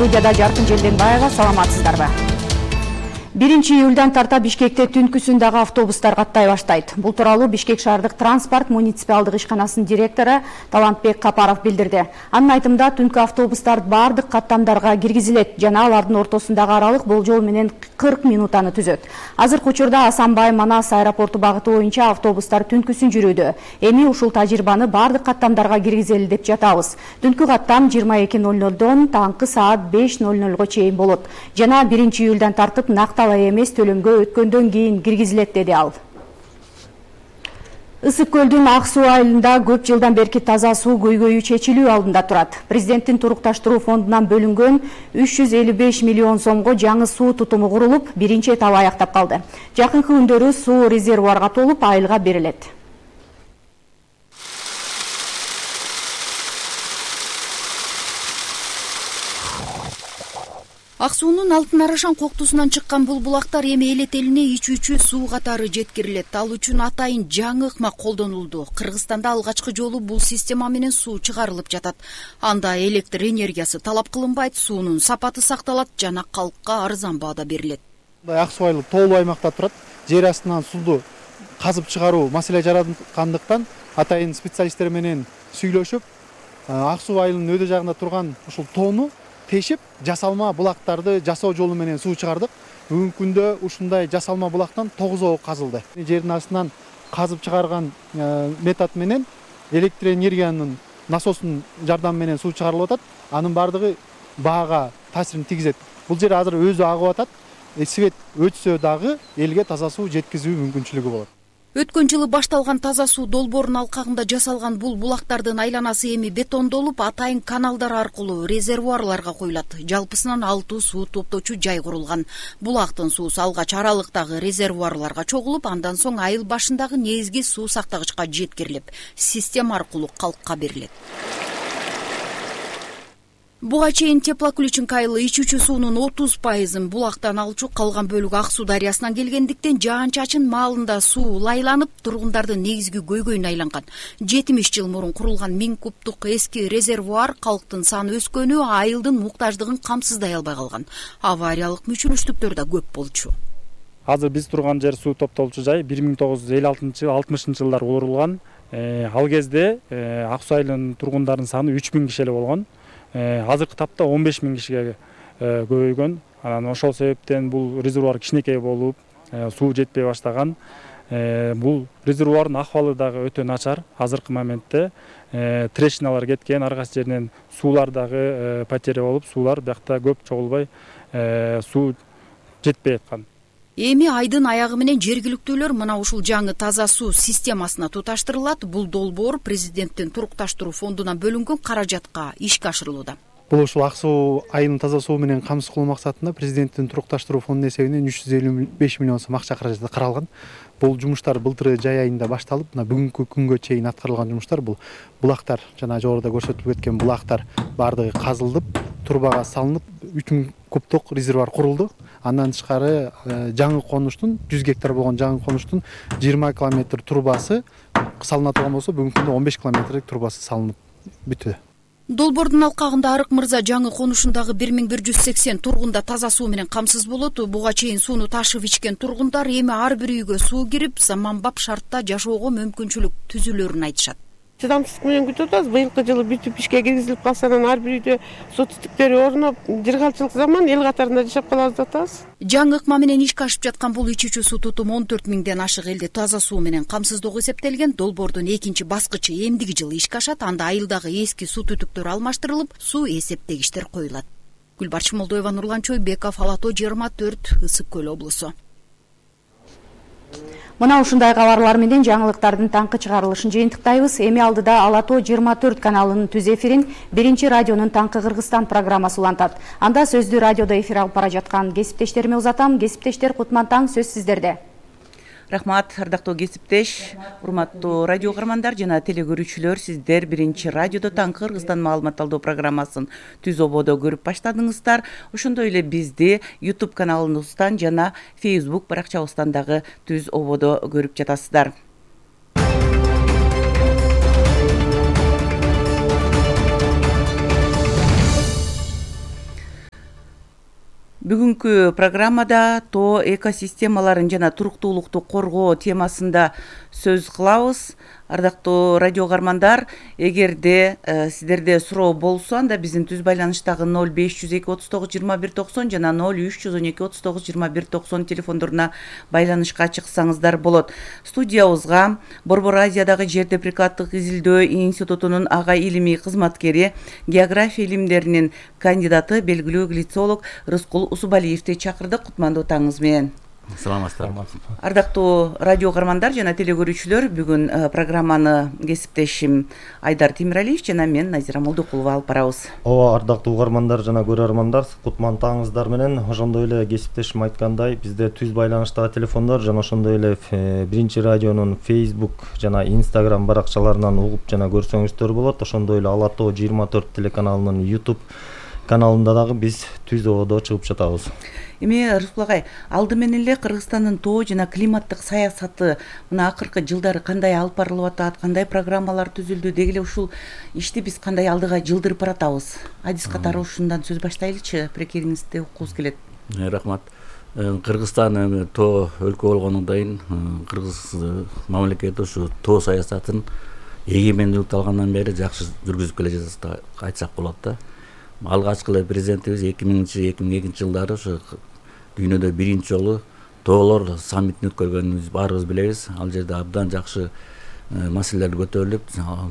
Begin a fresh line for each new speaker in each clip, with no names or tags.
Студияда Жаркын Желденбаева, саламатсыздарбы? 1-июлдан тарта Бишкекте түнкүсүндагы автобустар каттай баштайт. Бул тууралуу Бишкек шаардык транспорт муниципалдык ишканасынын директору Талантбек Капаров билдирди. Анын айтымында түнкү автобустар бардык каттамдарга киргизилет жана алардын ортосундагы аралык болжол менен 40 минутаны түзөт. Азыркы учурда Асанбай Манас аэропорту багыты боюнча автобустар түнкүсүн жүрүүдө. Эми ушул тажрыйбаны бардык каттамдарга киргизели деп жатабыз. Түнкү каттам 22:00дон таңкы саат 5:00 чейин болот. Жана 1-июлдан тартып накталай эмес төлөмгө өткөндөн кийин киргизилет, деди ал. Ысык көлдүн Ак суу айылында көп жылдан берки таза суу көйгөйү чечилүү алдында турат. Президенттин турукташтыруу фондунан бөлүнгөн 355 миллион сомго жаңы суу тутуму курулуп, биринчи этабы аяктап калды. Жакынкы күндөрү суу резервуарга толуп, айылга берилет. Ак суунун алтын арашан коктусунан чыккан бул булактар эми элет элине ичүүчү суу катары жеткирилет. Ал үчүн атайын жаңы ыкма колдонулду. Кыргызстанда алгачкы жолу бул система менен суу чыгарылып жатат. Анда электр энергиясы талап кылынбайт, суунун сапаты сакталат жана калкка арзан баада берилет.
Ак суу айылы тоолуу аймакта турат. Жер астынан сууду казып чыгаруу маселе жараткандыктан атайын специалисттер менен сүйлөшүп, Ак суу айылынын өйдө жагында турган ушул тоону тешип, жасалма булактарды жасоо жолу менен суу чыгардык. Бүгүнкү күндө ушундай жасалма булактан 9 казылды. Жердин астынан казып чыгарган метод менен электр энергиянын насостун жардамы менен суу чыгарылып атат. Анын бардыгы баага таасирин тийгизет. Бул жер азыр өзү агып атат. Свет өтсө дагы элге таза суу жеткизүү мүмкүнчүлүгү болот.
Өткөн жылы башталган таза суу долбоорунун алкагында жасалган бул булактардын айланасы эми бетондолуп, атайын каналдар аркылуу резервуарларга коюлат. Жалпысынан 6 суу топтоочу жай курулган. Булактын суусу алгач аралыктагы резервуарларга чогулуп, андан соң айыл башындагы негизги суу сактагычка жеткирилип, система аркылуу калкка берилет. Буга чейин Теплоключенко айылы ичүүчү суунун 30%-ын булактан алчу, калган бөлүгү Ак суу дарыясынан келгендиктен жаан-чачын маалында суу лайланып, тургундардын негизги көйгөйүнө айланган. 70 жыл мурун курулган 1000 кубтук эски резервуар калктын саны өскөнү айылдын муктаждыгын камсыздай албай калган. Авариялык мүчүлүштүктөр да көп болчу.
Азыр биз турган жер суу топтолчу жай 1956-60 жылдар курулган. Ал кезде Ак суу айылынын тургундарынын саны 3000 киши эле болгон. Азыркы тапта 15 000 кишиге көбөйгөн. Анан ошол себептен бул резервуар кичинекей болуп, суу жетпей баштаган. Бул резервуардын акыбалы дагы өтө начар. Азыркы моментте трещиналар кеткен, ар кайсы жеринен суулар дагы потеря болуп, суулар биякта көп чогулбай, суу жетпей аткан.
Эми айдын аягы менен жергиликтүүлөр мына ушул жаңы таза суу системасына туташтырылат. Бул долбоор президенттин турукташтыруу фондунан бөлүнгөн каражатка ишке ашырылууда.
Бул ушул Ак суу айылын таза суу менен камсыз кылуу максатында президенттин турукташтыруу фондунун эсебинен 355 миллион сом акча каражаты каралган. Бул жумуштар былтыр жай айында башталып, мына бүгүнкү күнгө чейин аткарылган жумуштар бул булактар, жана жогоруда көрсөтүлүп кеткен булактар бардыгы казылып, турбага салынып, 3000 кубтук резервуар курулду. Андан тышкары жаңы конуштун 100 гектар болгон жаңы конуштун 20 километр турбасы салына турган болсо, бүгүнкү күндө 15 километрлик турбасы салынып бүтү.
Долбоордун алкагында Арык мырза жаңы конушундагы 1180 тургунда таза суу менен камсыз болот. Буга чейин сууну ташып ичкен тургундар эми ар бир үйгө суу кирип, заманбап шартта жашоого мүмкүнчүлүк түзүлөрүн айтышат.
Чыдамсыздык менен күтүп атабыз. Быйылкы жылы бүтүп ишке киргизилип калса, анан ар бир үйдө суу түтүктөрү орноп, жыргалчылык заман эл катарында жашап калабыз деп атабыз.
Жаңы ыкма менен ишке ашып жаткан бул ичүүчү суу тутуму 14 000ден ашык элди таза суу менен камсыздоого эсептелген. Долбоордун экинчи баскычы эмдиги жылы ишке ашат. Анда айылдагы эски суу түтүктөр алмаштырылып, суу эсептегичтер коюлат. Гүлбарчын Молдоева, Нурлан Чойбеков, Алато 24, Ысык көл облусу. Мына ушундай кабарлар менен жаңылыктардын таңкы чыгарылышын жыйынтыктайбыз. Эми алдыда Алато 24 каналынын түз эфирин биринчи радионун Таңкы Кыргызстан программасы улантат. Анда сөздү радиодо эфир алып бара жаткан кесиптештериме узатам. Кесиптештер, кутман таң, сөз сиздерде.
Рахмат, ардактуу кесиптеш, урматтуу радио каармандар жана телекөрүүчүлөр, сиздер биринчи радиодо Таңкы Кыргызстан маалымат алуу программасын түз ободо көрүп баштадыңыздар. Ошондой эле бизди YouTube каналыбыздан жана Facebook баракчабыздан дагы түз ободо көрүп жатасыздар. Бүгүнкү программада тоо экосистемаларын жана туруктуулукту коргоо темасында сөз кылабыз. Ардактуу радио каармандар, эгерде сиздерде суроо болсо, анда биздин түз байланыштагы 0502392190 жана 0312392190 телефондоруна байланышка чыксаңыздар болот. Студиябызга Борбор Азиядагы жер деприкаттык изилдөө институтунун ага илимий кызматкери, география илимдеринин кандидаты, белгилүү глицолог Рыскул Усубалиевди чакырдык. Кутмандуу таңыңыз менен.
Саламатсыздарбы.
Ардактуу радио каармандар жана телегөрүүчүлөр, бүгүн программаны кесиптешим Айдар Темиралиев жана мен Назира Молдокулова алып барабыз.
Ооба, ардактуу угармандар жана көрөрмандар, кутмандуу таңыңыздар менен. Ошондой эле кесиптешим айткандай, бизде түз байланыштагы телефондор жана ошондой эле Биринчи радионун Facebook жана Instagram баракчаларынан угуп жана көрсөңүздөр болот. Ошондой эле Ала Тоо 24 телеканалынын YouTube каналында дагы биз түз ободо чыгып жатабыз.
Эми Рыскул агай, алды менен эле Кыргызстандын тоо жана климаттык саясаты мына акыркы жылдары кандай алып барылып атат, кандай программалар түзүлдү, деги эле ушул ишти биз кандай алдыга жылдырып баратабыз? Адис катары ушундан сөз баштайлычы, пикириңизди уккубуз келет.
Рахмат. Кыргызстан тоо өлкө болгондон кийин Кыргыз мамлекети ушу тоо саясатын эгемендүүлүктү алгандан бери жакшы жүргүзүп келе жатат айтсак болот да. Алгачкы эле президентибиз 2000-2002 жылдары ушу дүйнөдө биринчи жолу тоолор саммитин өткөргөнүн баарыбыз билебиз. Ал жерде абдан жакшы маселелер көтөрүлүп,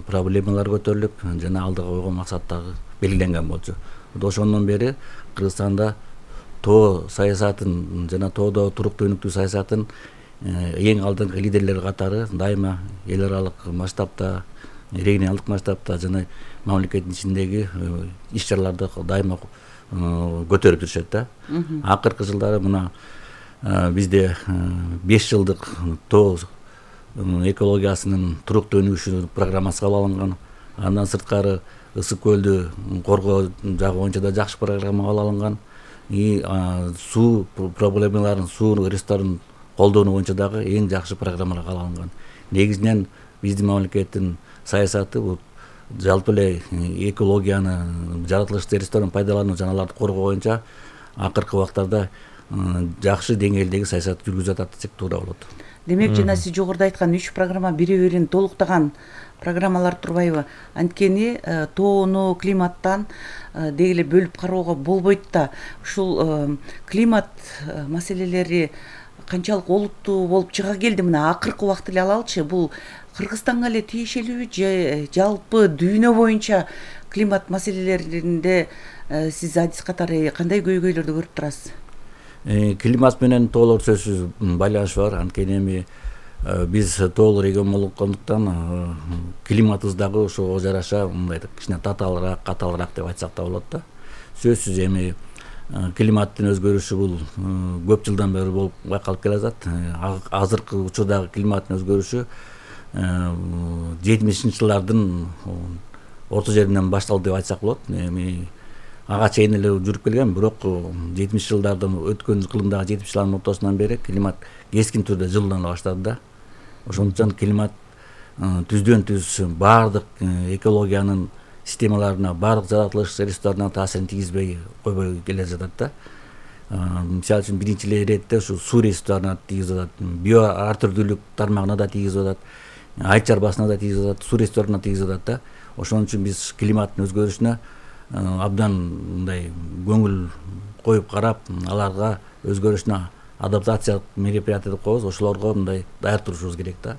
проблемалар көтөрүлүп, жана алдыга койгон максаттары белгиленген болчу. Ошондон бери Кыргызстанда тоо саясатын жана тоодо туруктуу өнүктүү саясатын эң алдыңкы лидерлер катары дайыма эл аралык масштабта, регионалдык масштабта жана мамлекеттин ичиндеги иш-чараларды дайыма көтөрүп жүрүшөт да. Акыркы жылдары мына бизде 5 жылдык тоо экологиясынын туруктуу өнүгүшү программасы кабыл алынган. Андан сырткары ысык көлдү коргоо жагы боюнча да жакшы программа кабыл алынган. Суу проблемаларын, суу ресурстарын колдонуу боюнча дагы эң жакшы программалар кабыл алынган. Негизинен биздин мамлекеттин саясаты бул жалпы эле экологияны, жаратылыштуу ресурстарын пайдалануу жана аларды коргоо боюнча акыркы убактарда жакшы деңгээлдеги саясат жүргүзүп атат десек туура болот.
Демек, жана сиз жогоруда айткан 3 программа бири-бирин толуктаган программалар турбайбы? Анткени тоону климаттан деги эле бөлүп кароого болбойт да. Ушул климат маселелери канчалык олуттуу болуп чыга келди мына акыркы убакта эле алалычы. Бул Кыргызстанга эле тиешелүүбү же жалпы дүйнө боюнча климат маселелеринде сиз адис катары кандай көйгөйлөрдү көрүп турасыз?
Климат менен тоолор сөзсүз байланышы бар. Анткени эми биз тоолор регион болгондуктан климатыбыз дагы ошого жараша мындай кичине татаалыраак, катаалыраак деп айтсак да болот да. Сөзсүз эми климаттын өзгөрүшү бул көп жылдан бери болуп байкалып келе жатат. Азыркы учурдагы климаттын өзгөрүшү 70 жылдардын орто жеринен башталды деп айтсак болот. Эми ага чейин эле жүрүп келген, бирок 70 жылдардын өткөн кылымдагы 70 жылдардын ортосунан бери климат кескин түрдө жылуулана баштады да. Ошондуктан климат түздөн түз баардык экологиянын системаларына, баардык жаратылыш ресурстарына таасирин тийгизбей койбой келе жатат да. Мисалы үчүн биринчи иретте ушу суу ресурстарына тийгизип атат, био ар түрдүүлүк тармагына да тийгизип атат, айыл чарбасына да тийгизип атат, суу ресурстарына тийгизип атат да. Ошон үчүн биз климаттын өзгөрүшүнө абдан мындай көңүл коюп карап, аларга өзгөрүшүнө адаптациялык мероприятия деп коебуз, ошолорго мындай даяр турушубуз керек да.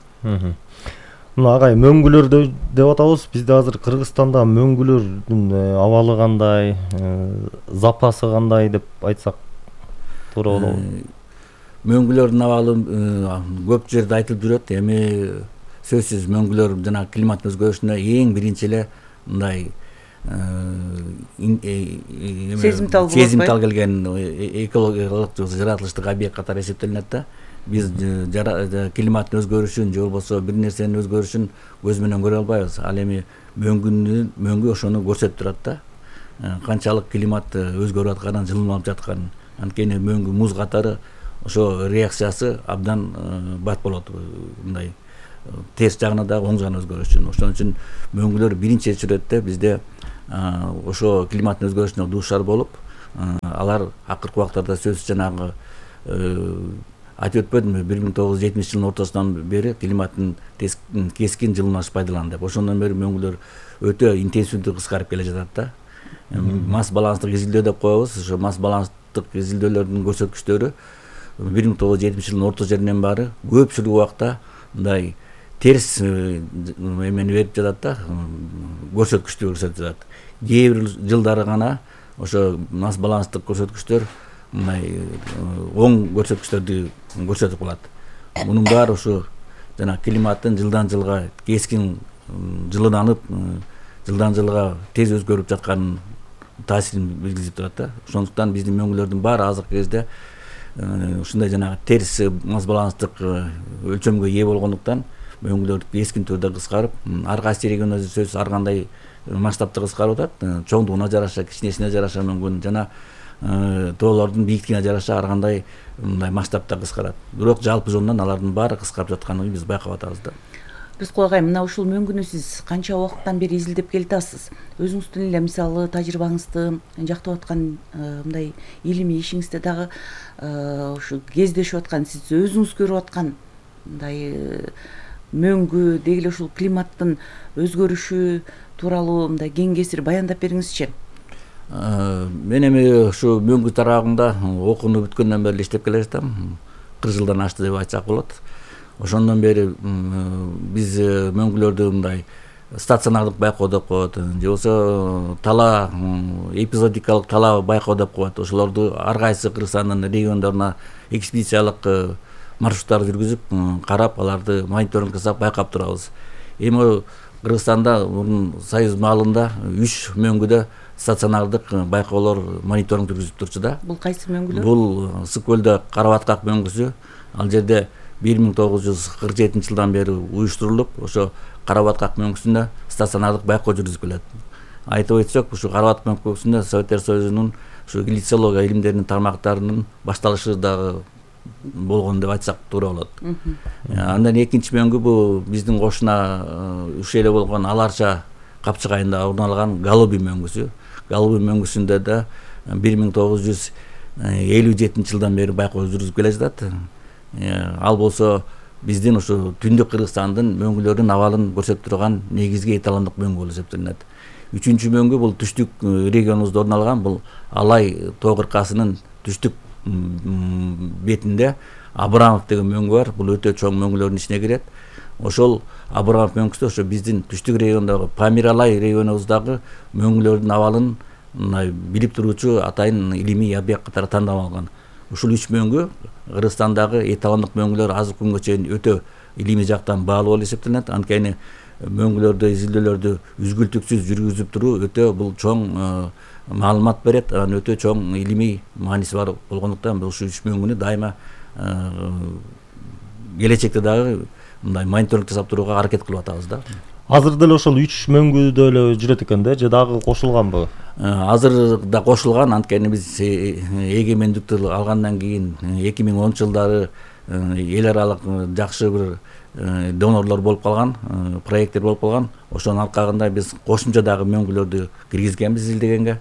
Мына агай, мөңгүлөр деп атабыз. Бизде азыр Кыргызстанда мөңгүлөрдүн абалы кандай, запасы кандай деп айтсак туура болобу?
Мөңгүлөрдүн абалы көп жерде айтылып жүрөт. Эми сөзсүз мөңгүлөр жана климаттын өзгөрүшүнө эң биринчи эле мындай сезимтал келген экологиялык жаратылыштык объект катары эсептелинет да. Биз климаттын өзгөрүшүн же болбосо бир нерсенин өзгөрүшүн көз менен көрө албайбыз. Ал эми мөңгү ошону көрсөтүп турат да. Канчалык климат өзгөрүп атканын, жылынып жатканын. Анткени мөңгү муз катары ошо реакциясы абдан бат болот. Мындай терс жагына да оң жагына өзгөрүшүн. Ошон үчүн мөңгүлөр биринчи чиретте бизде ошо климаттын өзгөрүшүнө дуушар болуп, алар акыркы убактарда сөзсүз жанагы айтып өтпөдүмбү 1970 жылдын ортосунан бери климаттын кескин жылынаш пайдаланды деп. Ошондон бери мөңгүлөр өтө интенсивдүү кыскарып келе жатат да. Масс баланстык изилдөө деп коебуз. Ошо масс баланстык изилдөөлөрдүн көрсөткүчтөрү 1970 жылдын орто жеринен баары көпчүлүк убакта мындай терс эмени берип жатат да, көрсөткүчтү көрсөтүп жатат. Кээ бир жылдары гана ошо масс баланстык көрсөткүчтөр мындай оң көрсөткүчтөрдү көрсөтүп калат. Мунун баары ошо жана климаттын жылдан жылга кескин жылынанып, жылдан жылга тез өзгөрүп жатканын таасирин билгизип турат да. Ошондуктан биздин мөңгүлөрдүн баары азыркы кезде ушундай жанагы терс масс баланстык өлчөмгө ээ болгондуктан мөңгүлөр кескин түрдө кыскарып, ар кайсы региондо сөзсүз ар кандай масштабта кыскарып атат. Чоңдугуна жараша, кичинесине жараша мүмкүн жана тоолордун бийиктигине жараша ар кандай мындай масштабта кыскарат. Бирок жалпы жонунан алардын баары кыскарып жатканын биз байкап атабыз да.
Рыскул агай, мына ушул мөңгүнү сиз канча убакыттан бери изилдеп келатасыз? Өзүңүздүн эле мисалы тажрыйбаңызды жактап аткан мындай илимий ишиңизде дагы ушу кездешип аткан, сиз өзүңүз көрүп аткан мындай мөңгү деги эле ушул климаттын өзгөрүшү тууралуу мындай кең кесир баяндап бериңизчи.
Мен эми ушу мөңгү тарабында окууну бүткөндөн бери иштеп келе жатам. 40 жылдан ашты деп айтсак болот. Ошондон бери биз мөңгүлөрдү мындай стационардык байкоо деп коет, же болбосо тала эпизодикалык тала байкоо деп коет. Ошолорду ар кайсы Кыргызстандын региондоруна экспедициялык маршруттар жүргүзүп, карап, аларды мониторинг жасап байкап турабыз. Эми Кыргызстанда мурун Союз маалында 3 мөңгүдө стационардык байкоолор мониторинг жүргүзүп турчу да.
Бул кайсы мөңгүлөр?
Бул Ысык көлдө Карабаткак мөңгүсү. Ал жерде 1947 жылдан бери уюштурулуп, ошо Карабаткак мөңгүсүндө стационардык байкоо жүргүзүп келет. Айтып өтсөк, ушу Карабаткак мөңгүсүндө Советтер Союзунун ушу глицология илимдеринин тармактарынын башталышы дагы болгон деп айтсак туура болот. Андан экинчи мөңгү бул биздин кошуна ушу эле болгон Аларча капчыгайында орун алган Голубий мөңгүсү. Голубий мөңгүсүндө да 1957 жылдан бери байкоо жүргүзүп келе жатат. Ал болсо биздин ушу түндүк Кыргызстандын мөңгүлөрүнүн абалын көрсөтүп турган негизги эталондук мөңгү болуп эсептелинет. Үчүнчү мөңгү бул түштүк регионубузда орун алган, бул Алай тоо кыркасынын түштүк бетинде Абрамов деген мөңгү бар. Бул өтө чоң мөңгүлөрдүн ичине кирет. Ошол Абрамов мөңгүсү ошо биздин түштүк региондогу Памир-Алай регионубуздагы мөңгүлөрдүн абалын билип туруучу атайын илимий объект катары тандалган. Ушул 3 мөңгү Кыргызстандагы эталондук мөңгүлөр азыр күнгө чейин өтө илимий жактан баалуу болуп эсептелинет. Анткени мөңгүлөрдү изилдөөлөрдү үзгүлтүксүз жүргүзүп туруу өтө бул чоң маалымат берет, анан өтө чоң илимий мааниси бар болгондуктан бул ушу 3 мөңгүнү дайыма келечекте дагы мындай мониторинг жасап турууга аракет кылып атабыз да.
Азыр деле ошол 3 мөңгүдө эле жүрөт экен да, же дагы кошулганбы?
Азыр да кошулган, анткени биз эгемендикти алгандан кийин 2010 жылдары эл аралык жакшы бир донорлор болуп калган, проекттер болуп калган. Ошонун алкагында биз кошумча дагы мөңгүлөрдү киргизгенбиз изилдегенге.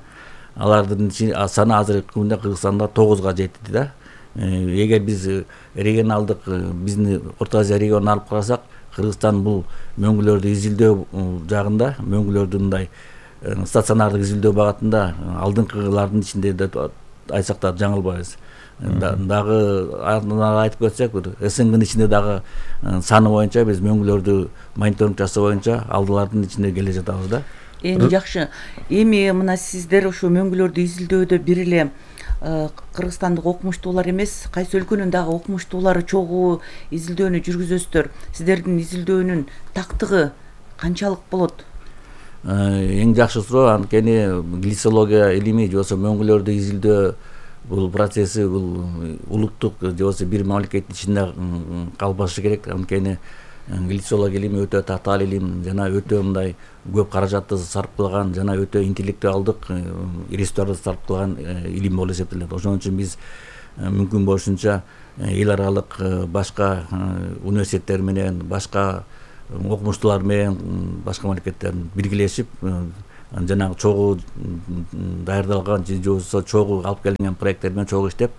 Алардын саны азыркы күндө Кыргызстанда 9га жетти да. Эгер биз регионалдык биздин Орто Азия регионун алып карасак, Кыргызстан бул мөңгүлөрдү изилдөө жагында, мөңгүлөрдү мындай стационардык изилдөө багытында алдыңкылардын ичинде деп айтсак да жаңылбайбыз. Дагы айтып өтсөк, СНГнын ичинде дагы саны боюнча биз мөңгүлөрдү мониторинг жасоо боюнча алдылардын ичинде келе жатабыз да.
Эми жакшы. Эми мына сиздер ушу мөңгүлөрдү изилдөөдө бир эле кыргызстандык окумуштуулар эмес, кайсы өлкөнүн дагы окумуштуулары чогуу изилдөөнү жүргүзөсүздөр. Сиздердин изилдөөнүн тактыгы канчалык болот?
Эң жакшы суроо, анткени глицология илими же болбосо мөңгүлөрдү изилдөө бул процесси бул улуттук же болбосо бир мамлекеттин ичинде калбашы керек. Анткени глицология илими өтө татаал илим жана өтө мындай көп каражатты сарп кылган жана өтө интеллектуалдык ресурстарды сарп кылган илим болуп эсептелет. Ошон үчүн биз мүмкүн болушунча эл аралык башка университеттер менен, башка окумуштуулар менен, башка мамлекеттер биргелешип жанагы чогуу даярдалган же болбосо чогуу алып келинген проекттер менен чогуу иштеп,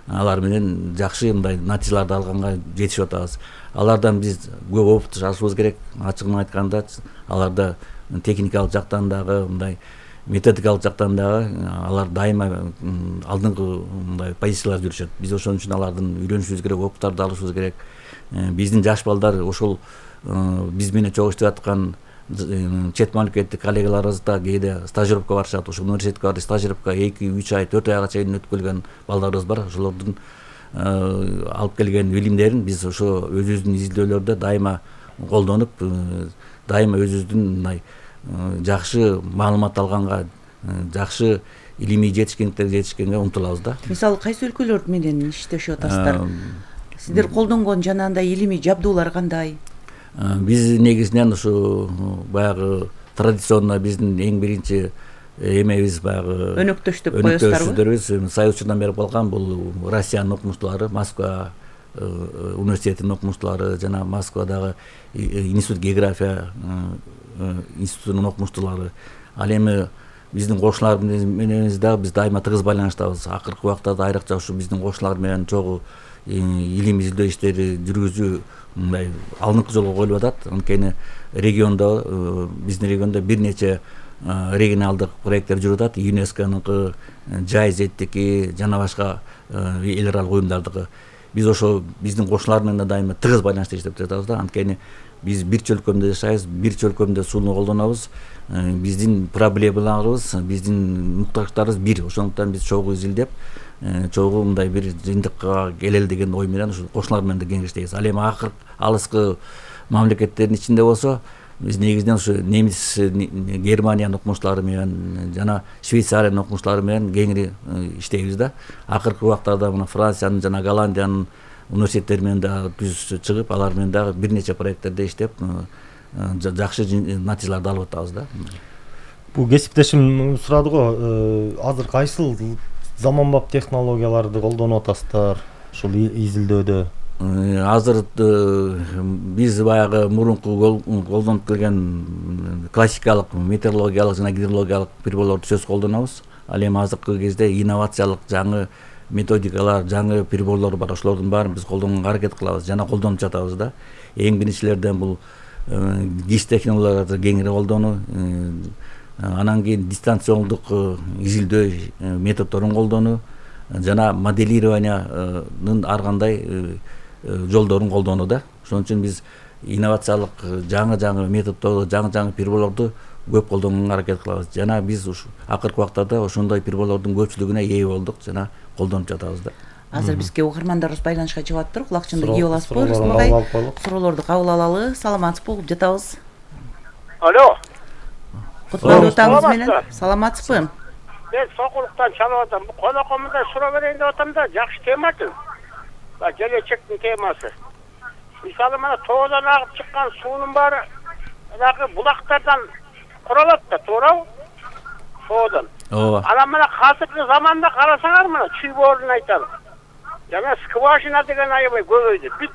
алар менен жакшы мындай натыйжаларды алганга жетишип атабыз. Алардан биз көп опыт алышыбыз керек. Ачыгын айтканда, аларда техникалык жактан дагы, мындай методикалык жактан дагы алар дайыма алдыңкы мындай позицияларда жүрүшөт. Биз ошон үчүн алардан үйрөнүшүбүз керек, опыттарды алышыбыз керек. Биздин жаш балдар ошол биз менен чогуу иштеп аткан чет мамлекеттик коллегаларыбыз да кээде стажировка барышат. Ошо университетке барып стажировка 2-3 ай, 4 айга чейин өтүп келген балдарыбыз бар. Ошолордун алып келген билимдерин биз ошо өзүбүздүн изилдөөлөрдө дайыма колдонуп, дайыма өзүбүздүн мындай жакшы маалымат алганга, жакшы илимий жетишкендиктерге жетишкенге умтулабыз да.
Мисалы кайсы өлкөлөр менен иштешип атасыздар? Сиздер колдонгон жанагындай илимий жабдуулар кандай?
Биз негизинен ушу баягы традиционно биздин эң биринчи эмебиз баягы
өнөктөштүк коесуздарбы?
Өнөктөштүктөрүбүз Союз учурунан бери калган бул Россиянын окумуштуулары, Москва университетинин окумуштуулары, жана Москвадагы институт география институтунун окумуштуулары. Ал эми биздин кошуналар менен дагы биз дайыма тыгыз байланыштабыз. Акыркы убактарда айрыкча ушу биздин кошуналар менен чогуу илим изилдөө иштери жүргүзүү мындай алдыңкы жолго коюлуп атат. Анткени региондо, биздин региондо бир нече регионалдык проекттер жүрүп атат. ЮНЕСКОнун жайзеттики жана башка эл аралык уюмдардыкы. Биз ошо биздин кошуналар менен дайыма тыгыз байланышта иштеп жатабыз да. Анткени биз бир чөлкөмдө жашайбыз, бир чөлкөмдө сууну колдонобуз. Биздин проблемаларыбыз, биздин муктаждарыбыз бир. Ошондуктан биз чогуу изилдеп, чогуу мындай бир жыйынтыкка келели деген ой менен ушу кошуналар менен да кеңештейбиз. Ал эми алыскы мамлекеттердин ичинде болсо, биз негизинен ушу немис, Германиянын окумуштуулары менен жана Швейцариянын окумуштуулары менен кеңири иштейбиз да. Акыркы убактарда мына Франциянын жана Голландиянын университеттери менен дагы түз чыгып, алар менен дагы бир нече проекттерде иштеп, жакшы натыйжаларды алып атабыз да.
Бул кесиптешим сурады го, азыр кайсыл заманбап технологияларды колдонуп атасыздар ушул изилдөөдө?
Азыр биз баягы мурунку колдонуп келген классикалык метеорологиялык жана гидрологиялык приборлорду сөзсүз колдонобуз. Ал эми азыркы кезде инновациялык жаңы методикалар, жаңы приборлор бар. Ошолордун баарын биз колдонганга аракет кылабыз жана колдонуп жатабыз да. Эң биринчилерден бул ГИС технологияларды кеңири колдонуу, анан кийин дистанциондук изилдөө методдорун колдонуу жана моделированиянын ар кандай жолдорун колдонуу да. Ошон үчүн биз инновациялык жаңы методдорду, жаңы приборлорду көп колдонганга аракет кылабыз. Жана биз ушу акыркы убактарда ошондой приборлордун көпчүлүгүнө ээ болдук жана колдонуп жатабыз да.
Азыр бизге угармандарыбыз байланышка чыгып атыптыр. Кулакчынды кийип аласызбы? Рыскмагай, суроолорду кабыл алалы. Саламатсызбы? Угуп жатабыз.
Алло.
Кутмандуу таңыңыз менен. Саламатсызбы?
Мен Сокулуктан чалып атам. Бу конокомунда суроо берейин деп атам да, жакшы темачы. Келечектин темасы. Мисалы мына тоодон агып чыккан суунун баары дагы булактардан куралат да, туурабы? Тоодон.
Ооба.
Анан мына азыркы заманда карасаңар мына чүй-боорун айталы. Жана скважина деген аябай көбөйдү. Бүт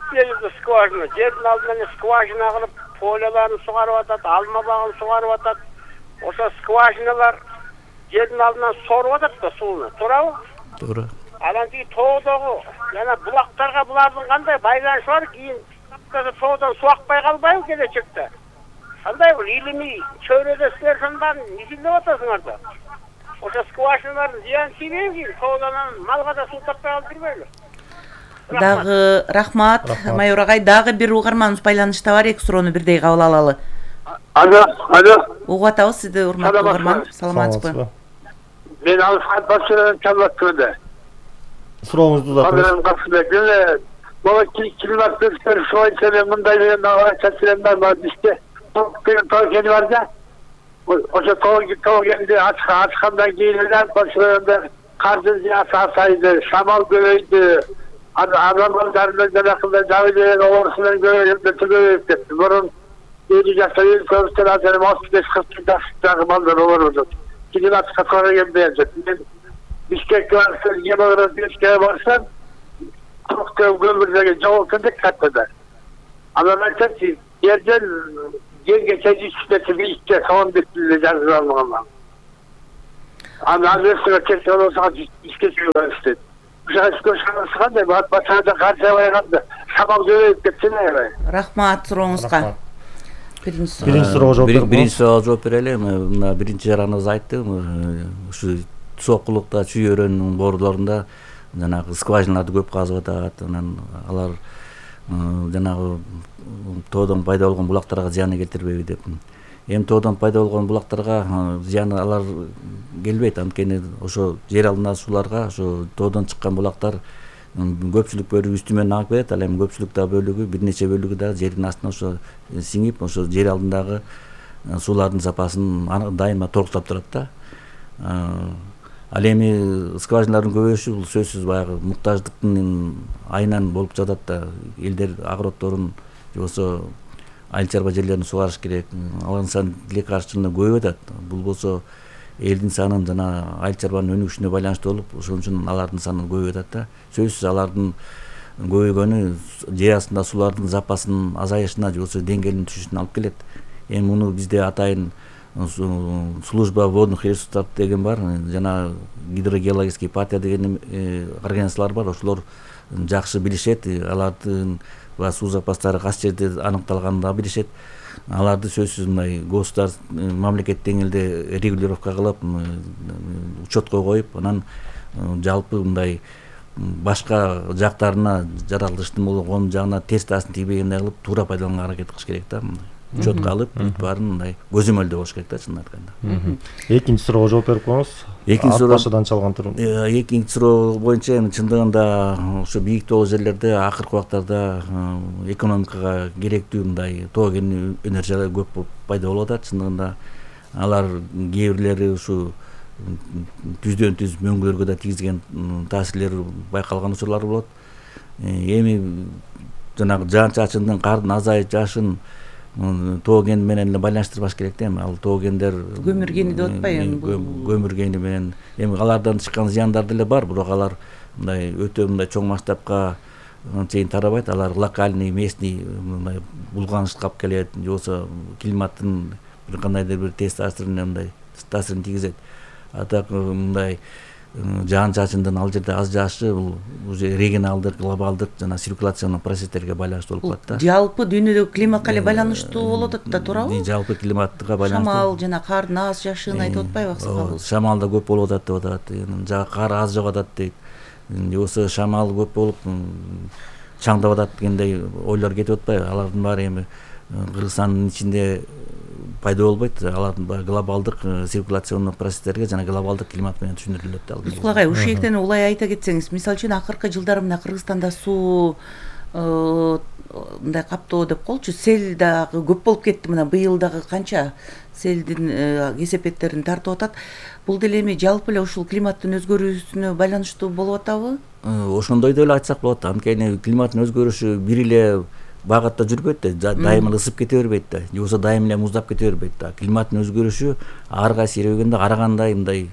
скважина, жердин алдынан скважина кылып, поляларын сугарып атат, алма багын сугарып атат. Ошо скважиналар жердин алдынан соруп атат да сууну, туурабы?
Туура.
Анан кийин тоодогу жана булактарга булардын кандай байланышы бар, кийин тоодон суу акпай калбайбы келечекте? Кандай бир илимий чөйрөдө силер ошонун баарын изилдеп атасыңар да. Ошо скважиналардын зыяны тийбейби кийин тоодон малга да суу таппай калып жүрбөйлү?
Дагы рахмат, майор агай. Дагы бир угарманыбыз байланышта бар, эки суроону бирдей кабыл алалы.
Алло.
Угуп атабыз сизди, урматтуу угарман. Саламатсызбы?
Мен Алфат Башыров чалып атам.
Сурооңузду
узатыңыз. Бала климат өзгөрүшү боюнча мындай деген чачырымдар бар бизде. Тоо кени бар да. Ошо тоо кенди ачкандан кийин эле карды азайды, шамал көбөйдү. Адамдардын жанакында жабылган оорусунан көбөйүп кетти. Мурун 50 жашта көбүстөр азыр 35-40 жаштагы балдар ооруду. Климатка туура келбейт. Бишкекке барсам, Гемографическая барсам, көмүрдөгү жол кендик каттада. Анан айтачы, жерден жерге жетишпесе бийикке соон деп жазып алган. Андан өсүп кетсе болсо ишке чыгып кандай батада каржабайганда шамал көбөйүп кетсин аябай.
Рахмат сурооңузга.
Биринчи суроого жооп берип.
Биринчи суроого жооп берели. Мына биринчи жараныбыз айтты, ушу Сокулукта, Чүй өрөөнүнүн боордорунда жанагы скважиналарды көп казып атат. Анан алар жанагы тоодон пайда болгон булактарга зыяны келтирбейби деп. Эми тоодон пайда болгон булактарга зыяны алар келбейт. Анткени ошо жер алдындагы сууларга ошо тоодон чыккан булактар көпчүлүк бөлүгү үстү менен агып берет. Ал эми көпчүлүк да бөлүгү, бир нече бөлүгү да жердин астына ошо сиңип, ошо жер алдындагы суулардын сапасын дайыма торуктап турат да. Ал эми скважиналардын көбөйүшү бул сөзсүз баягы муктаждыктын айынан болуп жатат да. Элдер агороддорун же болбосо айыл чарба жерлерин сугарыш керек. Алардын саны тилек каршылыгында көбөйүп атат. Бул болсо элдин санын жана айыл чарбанын өнүгүшүнө байланыштуу болуп, ошон үчүн алардын саны көбөйүп атат да. Сөзсүз алардын көбөйгөнү жер астында суулардын запасынын азайышына же болбосо деңгээлинин түшүшүнө алып келет. Эми муну бизде атайын служба водных ресурсов деген бар, жана гидрогеологический партия деген организациялар бар. Ошолор жакшы билишет, алардын суу запастары кайсы жерде аныкталганын да билишет. Аларды сөзсүз мындай государство мамлекет деңгээлде регулировка кылып, учетко коюп, анан жалпы мындай башка жактарына жаралыштын болгон жагына терс таасирин тийбегендей кылып туура пайдаланганга аракет кылыш керек да. Учетко алып, бүт баарын мындай көзөмөлдөө болуш керек да, чынын айтканда.
Экинчи суроого жооп берип коюңуз.
Экинчи суроо
башыдан чалган турум.
Экинчи суроо боюнча эми чындыгында ошо бийик тоолуу жерлерде акыркы убактарда экономикага керектүү мындай тоо кен энергиялар көп пайда болуп атат. Чындыгында алар кээ бирлери ушу түздөн түз мөңгүлөргө да тийгизген таасирлери байкалган учурлар болот. Эми жанагы жаан чачындын, кардын азайып жашын тоо кен менен эле байланыштырбаш керек да. Эми ал тоо кендер
көмүр кени деп атпайбы?
Көмүр кени менен эми алардан чыккан зыяндар деле бар, бирок алар мындай өтө мындай чоң масштабка чейин тарабайт. Алар локальный, местный мындай булганышка алып келет, же болбосо климаттын бир кандайдыр бир терс таасирине мындай таасирин тийгизет. А так мындай жаан чачындын ал жерде аз жаашы бул уже регионалдык, глобалдык жана циркуляциялык процесстерге байланыштуу болуп калат да.
Жалпы дүйнөдөгү климатка эле байланыштуу болуп атат да, туурабы?
Жалпы климатка байланыштуу.
Шамал жана кардын аз жашын айтып атпайбы аксакал?
Шамал да көп болуп атат деп атат. Жана кар аз жогот атат дейт. Же болбосо шамал көп болуп чаңдап атат дегендей ойлор кетип атпайбы? Алардын баары эми Кыргызстандын ичинде пайда болбойт. Алардын глобалдык циркуляционный процесстерге жана глобалдык климат менен түшүндүрүлөт да.
Ускул агай, ушектен улай айта кетсеңиз, мисалы үчүн акыркы жылдары мына Кыргызстанда суу мындай каптоо деп коелучу, сел дагы көп болуп кетти. Мына быйыл дагы канча селдин кесепеттерин тартып атат. Бул деле эми жалпы эле ушул климаттын өзгөрүүсүнө байланыштуу болуп атабы?
Ошондой деле айтсак болот. Анткени климаттын өзгөрүшү бир эле багытта жүрбөйт да, дайыма ысып кете бербейт да, же болбосо дайыма эле муздап кете бербейт да. Климаттын өзгөрүшү ар кайсы жер өгөндө ар кандай мындай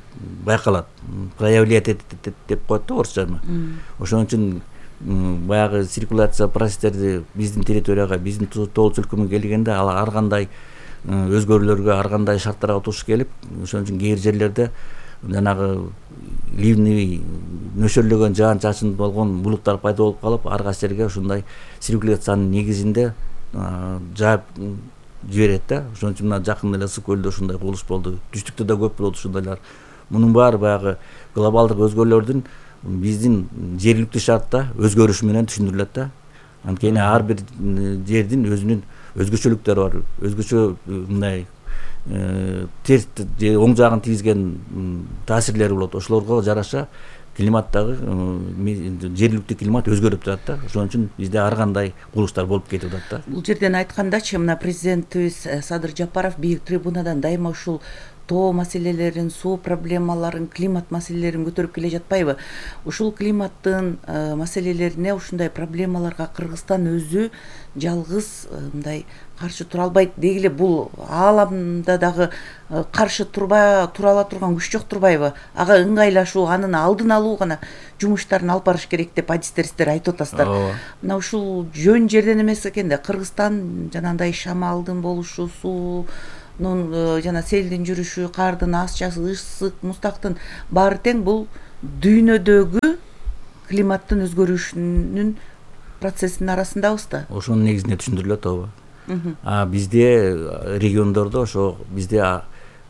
байкалат, проявлять этет деп коет да орусча. Ошон үчүн баягы циркуляция процесстерди биздин территорияга, биздин тоолуу чөлкөмгө келгенде ал ар кандай өзгөрүүлөргө, ар кандай шарттарга туш келип, ошон үчүн кээ бир жерлерде жанагы ливневый нөшөрлөгөн жаан чачын болгон булуттар пайда болуп калып, ар кайсы жерге ушундай циркуляциянын негизинде жаап жиберет да. Ошон үчүн мына жакын эле Ысык көлдө ушундай кубулуш болду. Түштүктө да көп болот ушундайлар. Мунун баары баягы глобалдык өзгөрүүлөрдүн биздин жергиликтүү шартта өзгөрүшү менен түшүндүрүлөт да. Анткени ар бир жердин өзүнүн өзгөчөлүктөрү бар. Өзгөчө мындай терс же оң жагын тийгизген таасирлери болот. Ошолорго жараша климаттагы жергиликтүү климат өзгөрүп турат да. Ошон үчүн бизде ар кандай кубулуштар болуп кетип атат да.
Бул жерден айткандачы, мына президентибиз Садыр Жапаров бийик трибунадан дайыма ушул тоо маселелерин, суу проблемаларын, климат маселелерин көтөрүп келе жатпайбы? Ушул климаттын маселелерине, ушундай проблемаларга Кыргызстан өзү жалгыз мындай каршы тура албайт. Деги эле бул ааламда дагы каршы тура ала турган күч жок турбайбы? Ага ыңгайлашуу, анын алдын алуу гана жумуштарын алып барыш керек деп адистериздер айтып атасыздар. Мына ушул жөн жерден эмес экен да. Кыргызстан жанагындай шамалдын болушу, суунун жана селдин жүрүшү, кардын асчасы, ысык, муздактын баары тең бул дүйнөдөгү климаттын өзгөрүшүнүн процессинин арасындабыз да.
Ошонун негизинде түшүндүрүлөт ооба. Бизде региондордо ошо бизде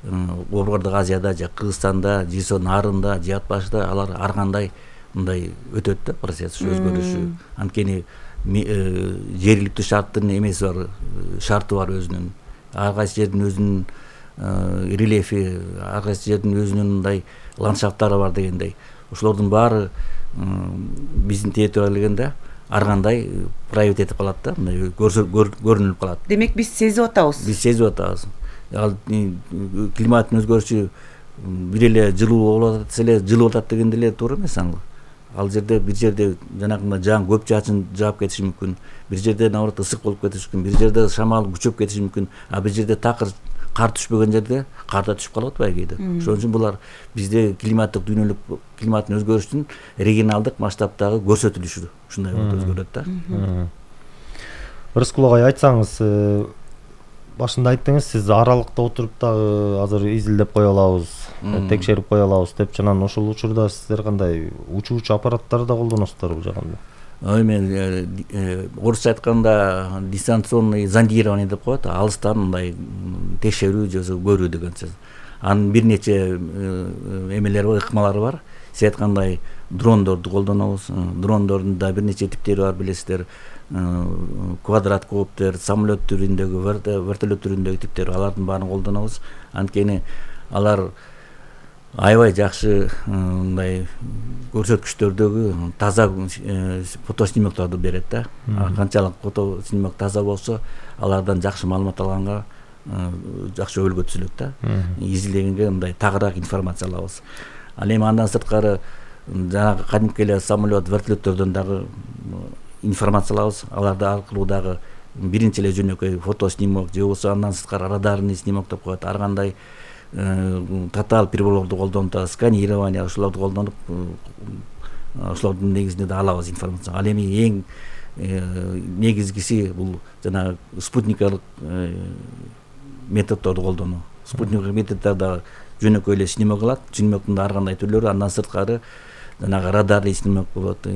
Борбордук Азияда же Кыргызстанда, же нарында, же ат башында алар ар кандай мындай өтөт да процесс өзгөрүшү. Анткени жергиликтүү шарттын эмеси бар, шарты бар өзүнүн. Ар кайсы жердин өзүнүн рельефи, ар кайсы жердин өзүнүн мындай ландшафттары бар дегендей. Ошолордун баары биздин территорияга келгенде ар кандай проявить этип калат да, мындай көрүнүп калат.
Демек биз сезип атабыз.
Биз сезип атабыз. Ал климаттын өзгөрүшү бир эле жылуу болуп атат эле, жылып атат дегенде эле туура эмес аңгы. Ал жерде бир жерде жанагындай жаан көп жаачын жаап кетиши мүмкүн. Бир жерде наоборот ысык болуп кетиши мүмкүн. Бир жерде шамал күчөп кетиши мүмкүн. А бир жерде такыр кар түшпөгөн жерде кар да түшүп калып атпайбы кээде. Ошон үчүн булар бизде климаттык дүйнөлүк климаттын өзгөрүшүнүн регионалдык масштабтагы көрсөтүлүшү ушундай болуп өзгөрөт да.
Рыскул агай, айтсаңыз, башында айттыңыз, сиз аралыкта отуруп дагы азыр изилдеп кое алабыз, текшерип кое алабыз деп, жанагы ошол учурда сиздер кандай учуучу аппараттарды да колдоносуздар бул жагында?
Мен орусча айтканда дистанционный зондирование деп коет, алыстан мындай текшерүү же көрүү деген сөз. Анын бир нече эмелери бар, ыкмалары бар. Сиз айткандай дрондорду колдонобуз. Дрондордун да бир нече типтери бар, билесиздер. Квадрокоптер, самолет түрүндөгү, вертолет түрүндөгү типтер, алардын баарын колдонобуз. Анткени алар аябай жакшы мындай көрсөткүчтөрдөгү таза фотоснимкторду берет да. Канчалык фотоснимок таза болсо, алардан жакшы маалымат алганга жакшы өбөлгө түзүлөт да. Изилдегенге мындай тагыраак информация алабыз. Ал эми андан сырткары жанагы кадимки эле самолет, вертолеттерден дагы информация алабыз. Аларды аркылуу дагы биринчи эле жөнөкөй фотоснимок же болбосо андан сырткары радарный снимок деп коет. Ар кандай тотал приборлорду колдонуп, сканирование ошолорду колдонуп, ошолордун негизинде да алабыз информация. Ал эми эң негизгиси бул жана спутниктик методдорду колдонуу. Спутниктик методдор да жөнөкөй эле снимок алат, снимоктун да ар кандай түрлөрү, андан сырткары жанагы радарный снимок болот,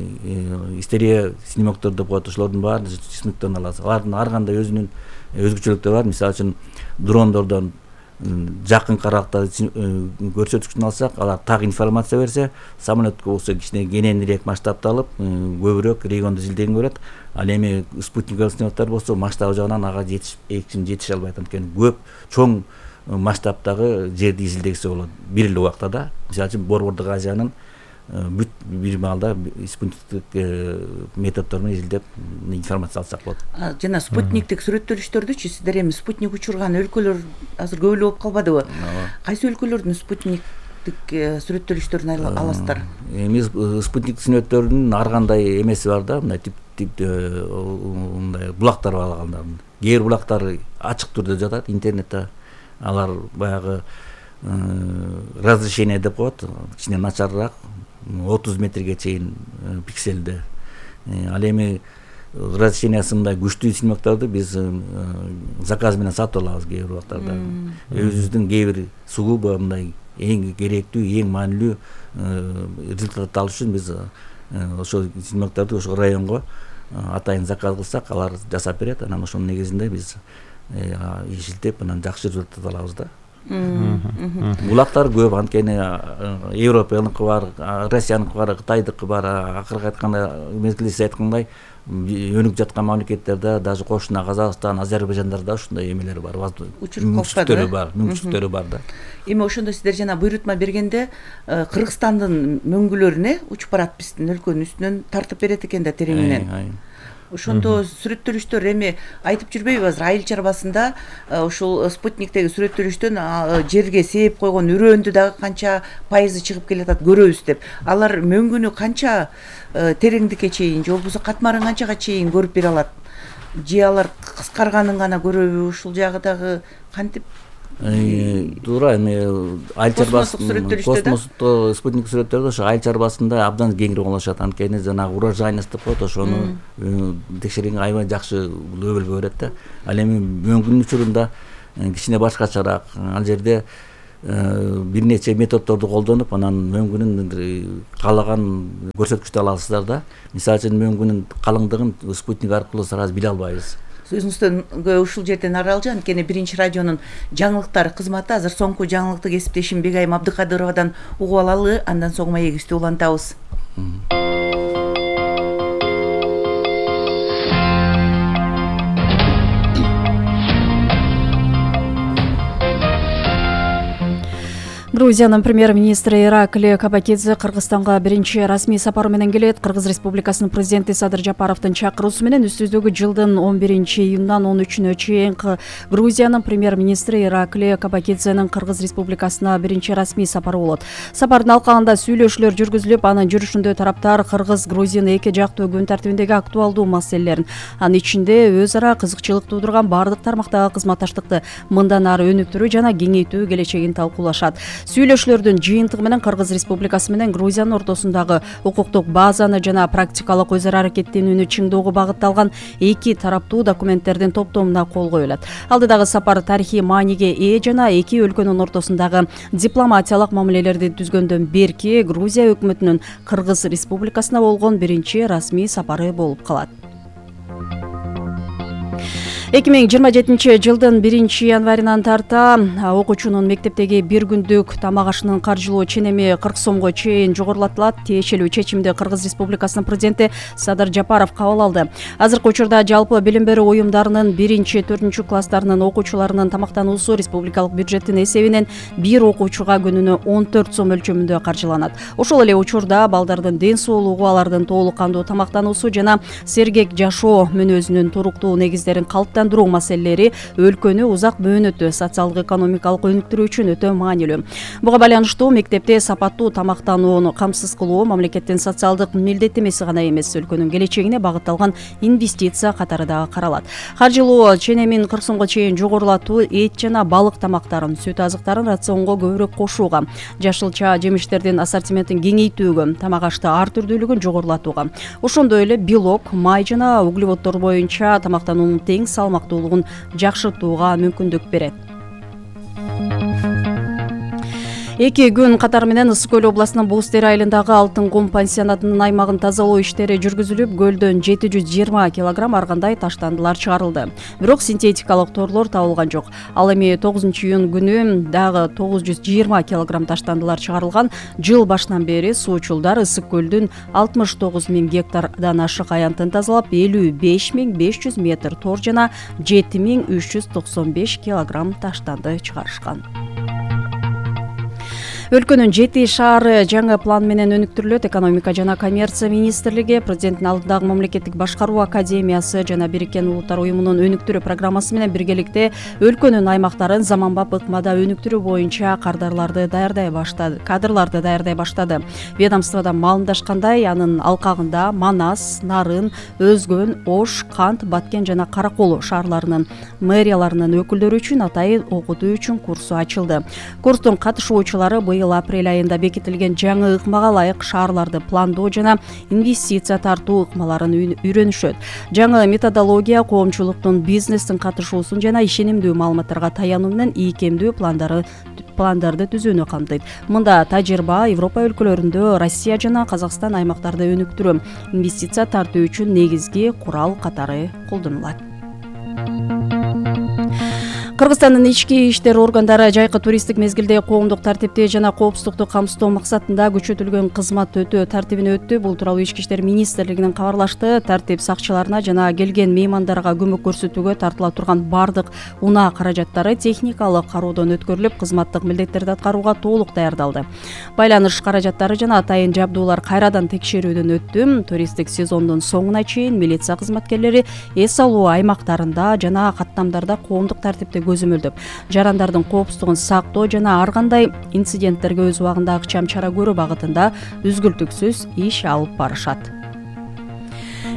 стерео снимоктор деп коет, ошолордун баарын снимоктон алабыз. Алардын ар кандай өзүнүн өзгөчөлүктөрү бар. Мисалы үчүн дрондордон жакын каракта көрсөткүчүн алсак, алар так информация берсе, самолетке болсо кичине кененирээк масштабты алып, көбүрөөк регионду изилдегенге болот. Ал эми спутниктик снимоктор болсо маштабы жагынан ага жетише албайт, анткени көп чоң масштабтагы жерди изилдегисе болот бир эле убакта да. Мисалы үчүн Борбордук Азиянын бүт бир маалда спутниктик методдор менен изилдеп информация алсак болот.
Жана спутниктик сүрөттөлүштөрдүчү сиздер эми спутник учурган өлкөлөр азыр көп эле болуп калбадыбы? Кайсы өлкөлөрдүн спутниктик сүрөттөлүштөрүн аласыздар?
Эми спутниктик сүрөттөрдүн ар кандай эмеси бар да, мындай мындай булактар бар. Кээ бир булактар ачык түрдө жатат интернетте. Алар баягы разрешение деп коет, кичине начарыраак, 30 метрге чейин пикселде. Ал эми разрешениясы мындай күчтүү снимкторду биз заказ менен сатып алабыз кээ бир убактарда. Өзүбүздүн кээ бир сугубо мындай эң керектүү, эң маанилүү результат алыш үчүн биз ошол снимкторду ошол районго атайын заказ кылсак, алар жасап берет. Анан ошонун негизинде биз изилдеп, анан жакшы результат алабыз да. Булактар көп, анткени Европаныкы бар, Россияныкы бар, Кытайдыкы бар. Акыркы айтканда, мезгилде сиз айткандай, өнүгүп жаткан мамлекеттерде, даже кошуна Казакстан, Азербайжандарда ушундай эмелер бар, мүмкүнчүлүктөрү бар да.
Эми ошондо сиздер жана буйрутма бергенде Кыргызстандын мөңгүлөрүнө учуп барат, биздин өлкөнүн үстүнөн тартып берет экен да тереңинен. Ошондо сүрөттөлүштөр эми айтып жүрбөйбү азыр айыл чарбасында ушул спутниктеги сүрөттөлүштөн жерге сээп койгон үрөөндү дагы канча пайызы чыгып келатат көрөбүз деп. Алар мөңгүнү канча тереңдикке чейин же болбосо катмарын канчага чейин көрүп бере алат? Же алар кыскарганын гана көрөбү? Ушул жагы дагы кантип?
Туура, эми айыл чарбасында космосто спутник сүрөттөрдө ошо айыл чарбасында абдан кеңири оңолошот. Анткени жанагы урожайность деп коет, ошону текшергенге аябай жакшы өбөлгө берет да. Ал эми мөңгүнүн учурунда кичине башкачараак. Ал жерде бир нече методдорду колдонуп, анан мөңгүнүн каалаган көрсөткүчтү аласыздар да. Мисалы үчүн мөңгүнүн калыңдыгын спутник аркылуу сразу биле албайбыз.
Өзүңүздөн ушул жерден аралжан, анткени Биринчи радионун жаңылыктар кызматы азыр соңку жаңылыкты кесиптешим Бегайым Абдыкадыровадан угуп алалы, андан соң маегибизди улантабыз.
Грузиянын премьер-министри Ираклий Кабакидзе Кыргызстанга биринчи расмий сапары менен келет. Кыргыз Республикасынын президенти Садыр Жапаровдун чакыруусу менен үстүздөгү жылдын 11-июндан 13-үнө чейин Грузиянын премьер-министри Ираклий Кабакидзенин Кыргыз Республикасына биринчи расмий сапары болот. Сапардын алкагында сүйлөшүүлөр жүргүзүлүп, анын жүрүшүндө тараптар Кыргыз-Грузин эки жактуу күн тартибиндеги актуалдуу маселелерин, анын ичинде өз ара кызыкчылык туудурган баардык тармактагы кызматташтыкты мындан ары өнүктүрүү жана кеңейтүү келечегин талкуулашат. Сүйлөшүүлөрдүн жыйынтыгы менен Кыргыз Республикасы менен Грузиянын ортосундагы укуктук базаны жана практикалык өз ара аракеттенүүнү чыңдоого багытталган эки тараптуу документтердин топтомуна кол коюлат. Алдыдагы сапар тарыхый мааниге ээ жана эки өлкөнүн ортосундагы дипломатиялык мамилелерди түзгөндөн берки Грузия өкмөтүнүн Кыргыз Республикасына болгон биринчи расмий сапары болуп калат. 2027 жылдын 1-январынан тарта окуучунун мектептеги бир күндүк тамак ашынын каржылоо ченеми 40 сомго чейин жогорулатылат. Тиешелүү чечимди Кыргыз Республикасынын президенти Садыр Жапаров кабыл алды. Азыркы учурда жалпы билим берүү уюмдарынын 1-4 класстарынын окуучуларынын тамактануусу республикалык бюджеттин эсебинен бир окуучуга күнүнө 14 сом өлчөмүндө каржыланат. Ошол эле учурда балдардын ден соолугу, алардын толук кандуу тамактануусу жана сергек жашоо мүнөзүнүн туруктуу негиздерин калыптандыруу маселелери өлкөнү узак бөөнөтө социалдык экономикалык өнүктүрүү үчүн өтө маанилүү. Буга байланыштуу мектепте сапаттуу тамактанууну камсыз кылуу мамлекеттин социалдык милдеттемеси гана эмес, өлкөнүн келечегине багытталган инвестиция катары дагы каралат. Каржылоо ченемин 40 сомго чейин жогорулатуу эт жана балык тамактарын, сүт азыктарын рационго көбүрөөк кошууга, жашылча жемиштердин ассортиментин кеңейтүүгө, тамак ашты ар түрдүүлүгүн жогорулатууга, ошондой эле белок, май жана углеводдор боюнча тамактануунун тең салмактуулугун жакшыртууга мүмкүндүк берет. 2 күн катары менен Ысык көл областынын Бууз-Тери айылындагы Алтын кум пансионатынын аймагын тазалоо иштери жүргүзүлүп, көлдөн 720 килограмм ар кандай таштандылар чыгарылды. Бирок синтетикалык торлор табылган жок. Ал эми 9-июнь күнү дагы 920 килограмм таштандылар чыгарылган. Жыл башынан бери суучулдар Ысык көлдүн 69 000 гектардан ашык аянтын тазалап, 55 500 метр тор жана 7 395 килограмм таштанды чыгарышкан. Өлкөнүн 7 шаары жаңы план менен өнүктүрүлөт. Экономика жана коммерция министрлиги, президенттин алдындагы мамлекеттик башкаруу академиясы жана Бириккен Улуттар уюмунун өнүктүрүү программасы менен биргеликте өлкөнүн аймактарын заманбап ыкмада өнүктүрүү боюнча кадрларды даярдай баштады. Ведомстводон маалымдашкандай, анын алкагында Манас, Нарын, Өзгөн, Ош, Кант, Баткен жана Каракол шаарларынын мэрияларынын өкүлдөрү үчүн атайын окутуу үчүн курсу ачылды. Курстун катышуучулары апрель айында бекитилген жаңы ыкмага ылайык шаарларды пландоо жана инвестиция тартуу ыкмаларын үйрөнүшөт. Жаңы методология коомчулуктун, бизнестин катышуусун жана ишенимдүү маалыматтарга таянуу менен ийкемдүү пландарды түзүүнү камтыйт. Мында тажрыйба Европа өлкөлөрүндө Россия жана Казакстан аймактарды өнүктүрүү, инвестиция тартуу үчүн негизги курал катары колдонулат. Кыргызстандын ички иштер органдары жайкы туристтик мезгилде коомдук тартипти жана коопсуздукту камсыздоо максатында күчөтүлгөн кызмат өтөө тартибине өттү. Бул тууралуу Ички иштер министрлигинин кабарлашты. Тартип сакчыларына жана келген меймандарга көмөк көрсөтүүгө тартыла турган бардык унаа каражаттары техникалык кароодон өткөрүлүп, кызматтык милдеттерди аткарууга толук даярдалды. Байланыш каражаттары жана атайын жабдуулар кайрадан текшерүүдөн өттү. Туристтик сезондун соңуна чейин милиция кызматкерлери эс алуу аймактарында жана каттамдарда коомдук тартипти көзөмөлдөп, жарандардын коопсуздугун сактоо жана ар кандай инциденттерге өз убагында акчам чара көрүү багытында үзгүлтүксүз иш алып барышат.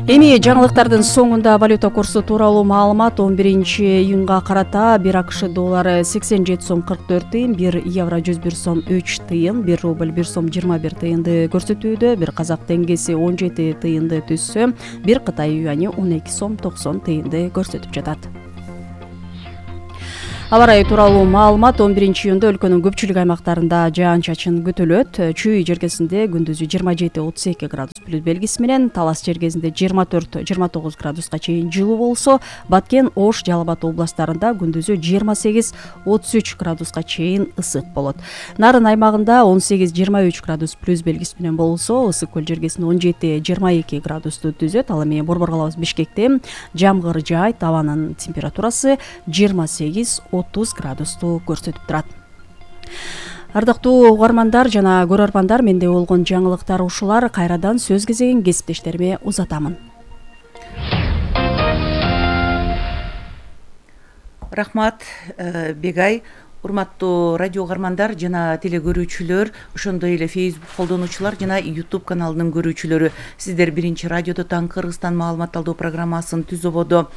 Эми жаңылыктардын соңунда валюта курсу тууралуу маалымат. 11-июнга карата 1 АКШ доллары 87 сом 44 тыйын, 1 евро 101 сом 3 тыйын, 1 рубль 1 сом 21 тыйынды көрсөтүүдө, 1 казак теңгеси 17 тыйынды түзсө, 1 Кытай юани 12 сом 90 тыйынды көрсөтүп жатат. Аба ырайы тууралуу маалымат. 11-июнда өлкөнүн көпчүлүк аймактарында жаан-чачын күтүлөт. Чүй жергесинде күндүзү 27-32 градус плюс белгиси менен, Талас жергесинде 24-29 градуска чейин жылуу болсо, Баткен, Ош, Жалал Абад областарында күндүзү 28-33 градуска чейин ысык болот. Нарын аймагында 18-23 градус плюс белгиси менен болсо, Ысык көл жергесинде 17-22 градусту түзөт. Ал эми борбор калабыз Бишкекте жамгыр жаайт, абанын температурасы 28-30 градусту көрсөтүп турат. Ардактуу угармандар жана көрөрмандар, менде болгон жаңылыктар ушулар. Кайрадан сөз кезегин кесиптештериме узатамын.
Рахмат, Бегай. Урматтуу радио угармандар жана телекөрүүчүлөр, ошондой эле Facebook колдонуучулар жана YouTube каналынын көрүүчүлөрү, сиздер биринчи радиодо таң Кыргызстан маалымат алуу программасын түз ободо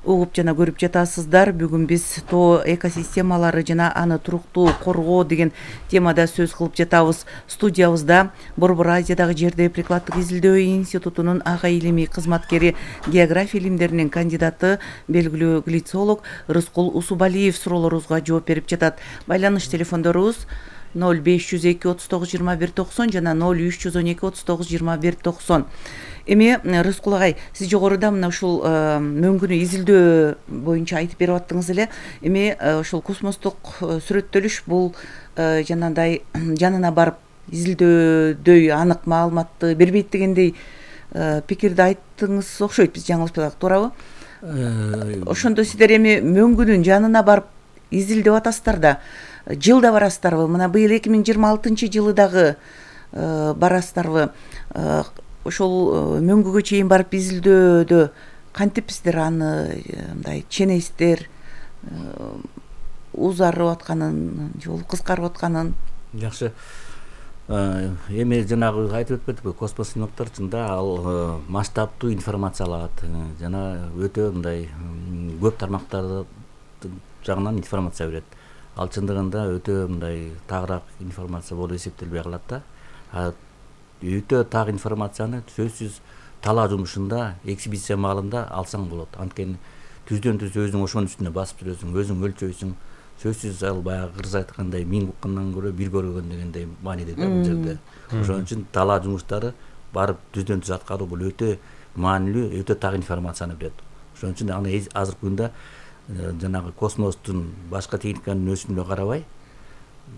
угуп жана көрүп жатасыздар. Бүгүн биз тоо экосистемалары жана аны туруктуу коргоо деген темада сөз кылып жатабыз. Студиябызда Борбор Азиядагы жерде прикладдык изилдөө институтунун ага илимий кызматкери, география илимдеринин кандидаты, белгилүү глицолог Рыскул Усубалиев суроолорубузга жооп берип жатат. Байланыш телефондорубуз 0502 39 21 90 жана 0312 39 21 90. Эми Рыскул агай, сиз жогоруда мына ушул мөңгүнү изилдөө боюнча айтып берип аттыңыз эле. Эми ушул космостук сүрөттөлүш бул жанагындай жанына барып изилдөөдөй анык маалыматты бербейт дегендей пикирди айттыңыз окшойт, биз жаңылышпасак, туурабы? Ошондо сиздер эми мөңгүнүн жанына барып изилдеп атасыздар да, жылда барасыздарбы? Мына быйыл 2026 жылы дагы барасыздарбы? Ошол мөңгүгө чейин барып изилдөөдө кантип сиздер аны мындай ченесиздер, узарып атканын, жолу кыскарып атканын?
Жакшы. Эми жанагы айтып өтпөдүкпү, космос синоптор чында ал масштабтуу информация алат жана өтө мындай көп тармактарды жагынан информация берет. Ал чындыгында өтө мындай тагыраак информация болуп эсептелбей калат да. Өтө так информацияны сөзсүз талаа жумушунда, экспедиция маалында алсаң болот. Анткени түздөн түз өзүң ошонун үстүнө басып жүрөсүң, өзүң өлчөйсүң. Сөзсүз ал баягы кыргыз айткандай 1000 уккандан көрө бир көргөн дегендей мааниде да бул жерде. Ошон үчүн талаа жумуштары барып түздөн түз аткаруу бул өтө маанилүү, өтө так информацияны берет. Ошон үчүн аны азыркы күндө жанагы космостун башка техниканын өсүмүнө карабай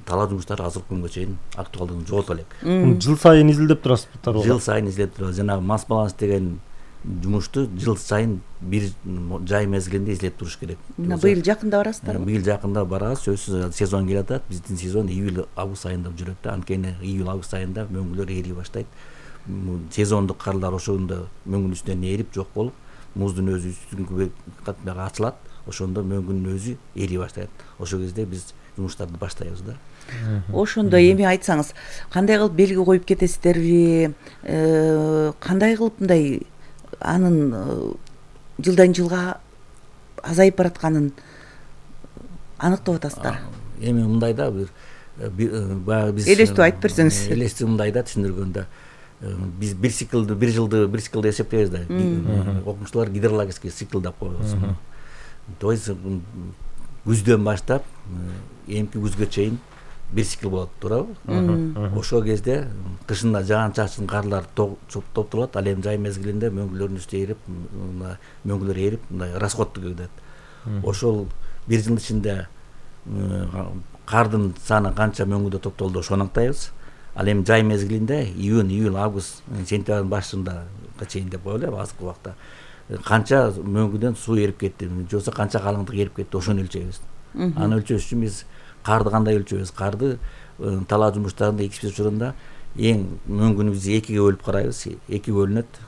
талаа жумуштары азыркы күнгө чейин актуалдыгын жогото элек.
Жыл сайын изилдеп турасызбы?
Жыл сайын изилдеп турабыз. Жанагы масс баланс деген жумушту жыл сайын бир жай мезгилинде изилдеп туруш керек.
Мына быйыл жакында барасыздарбы?
Быйыл жакында барабыз. Сөзсүз сезон келатат. Биздин сезон июль-август айында жүрөт да. Анткени июль-август айында мөңгүлөр ээри баштайт. Сезондук карлар ошондо мөңгүнүн үстүнөн ээрип жок болуп, муздун өзү үстүнкү катмага ачылат. Ошондо мөңгүнүн өзү ээри баштайт. Ошол кезде биз жумуштарды баштайбыз да.
Ошондо эми айтсаңыз, кандай кылып белги коюп кетесиздерби? Кандай кылып мындай анын жылдан жылга азайып баратканын аныктап атасыздар?
Эми мындай да, баягы биз
элестүү айтып берсеңиз.
Элестүү мындай да, түшүндүргөндө биз бир циклды, бир жылды эсептейбиз да. Окумуштуулар гидрологический цикл деп коебуз. То есть күздөн баштап эмки күзгө чейин бир цикл болот, туурабы? Ошол кезде кышында жаан-чачын карлар топтолот, ал эми жай мезгилинде мөңгүлөрдүн үстү ээрип, мөңгүлөр ээрип, мындай расходту кетет. Ошол бир жылдын ичинде кардын саны канча мөңгүдө топтолду ошону анықтайбыз. Ал эми жай мезгилинде июнь, июль, август, сентябрдын башында чейин деп коелу азыркы убакта канча мөңгүдөн суу эрип кетти же болбосо канча калыңдык эрип кетти ошону өлчөйбүз. Аны өлчөш үчүн биз карды кандай өлчөйбүз? Карды талаа жумуштарында экспедиция учурунда эң мөңгүнү биз экиге бөлүп карайбыз. Эки бөлүнөт.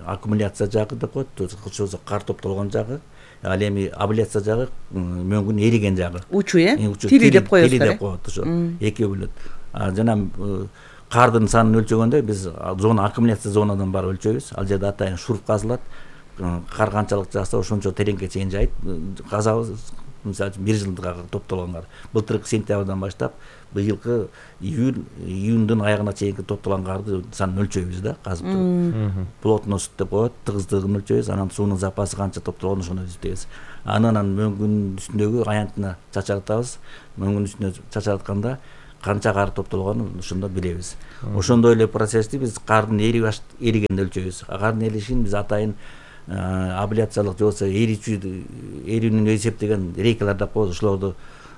Аккумуляция жагы деп коет, же болбосо кар топтолгон жагы. Ал эми абляция жагы мөңгүнүн эриген жагы.
Учу тили деп коебуз.
Тили деп коет ошо. Экиге бөлөт. Жана кардын санын өлчөгөндө биз зона аккумуляция зонадан барып өлчөйбүз. Ал жерде атайын шуруп казылат. Кар канчалык жааса ошончо тереңге чейин жайып казабыз. Мисалы үчүн бир жылга топтолгон кар. Былтыркы сентябрдан баштап быйылкы июндун аягына чейинки топтолгон карды санын өлчөйбүз да, казып туруп. Плотность деп коет, тыгыздыгын өлчөйбүз, анан суунун запасы канча топтолгонун ошону издейбиз. Анан мөңгүнүн үстүндөгү аянтына чачартабыз. Мөңгүнүн үстүнө чачаратканда канча кар топтолгонун ошондо билебиз. Ошондой эле процессти биз кардын эригенде өлчөйбүз. Кардын эришин биз атайын абляциялык же болбосо эрүүнү эсептеген рейкалар деп коебуз. Ошолорду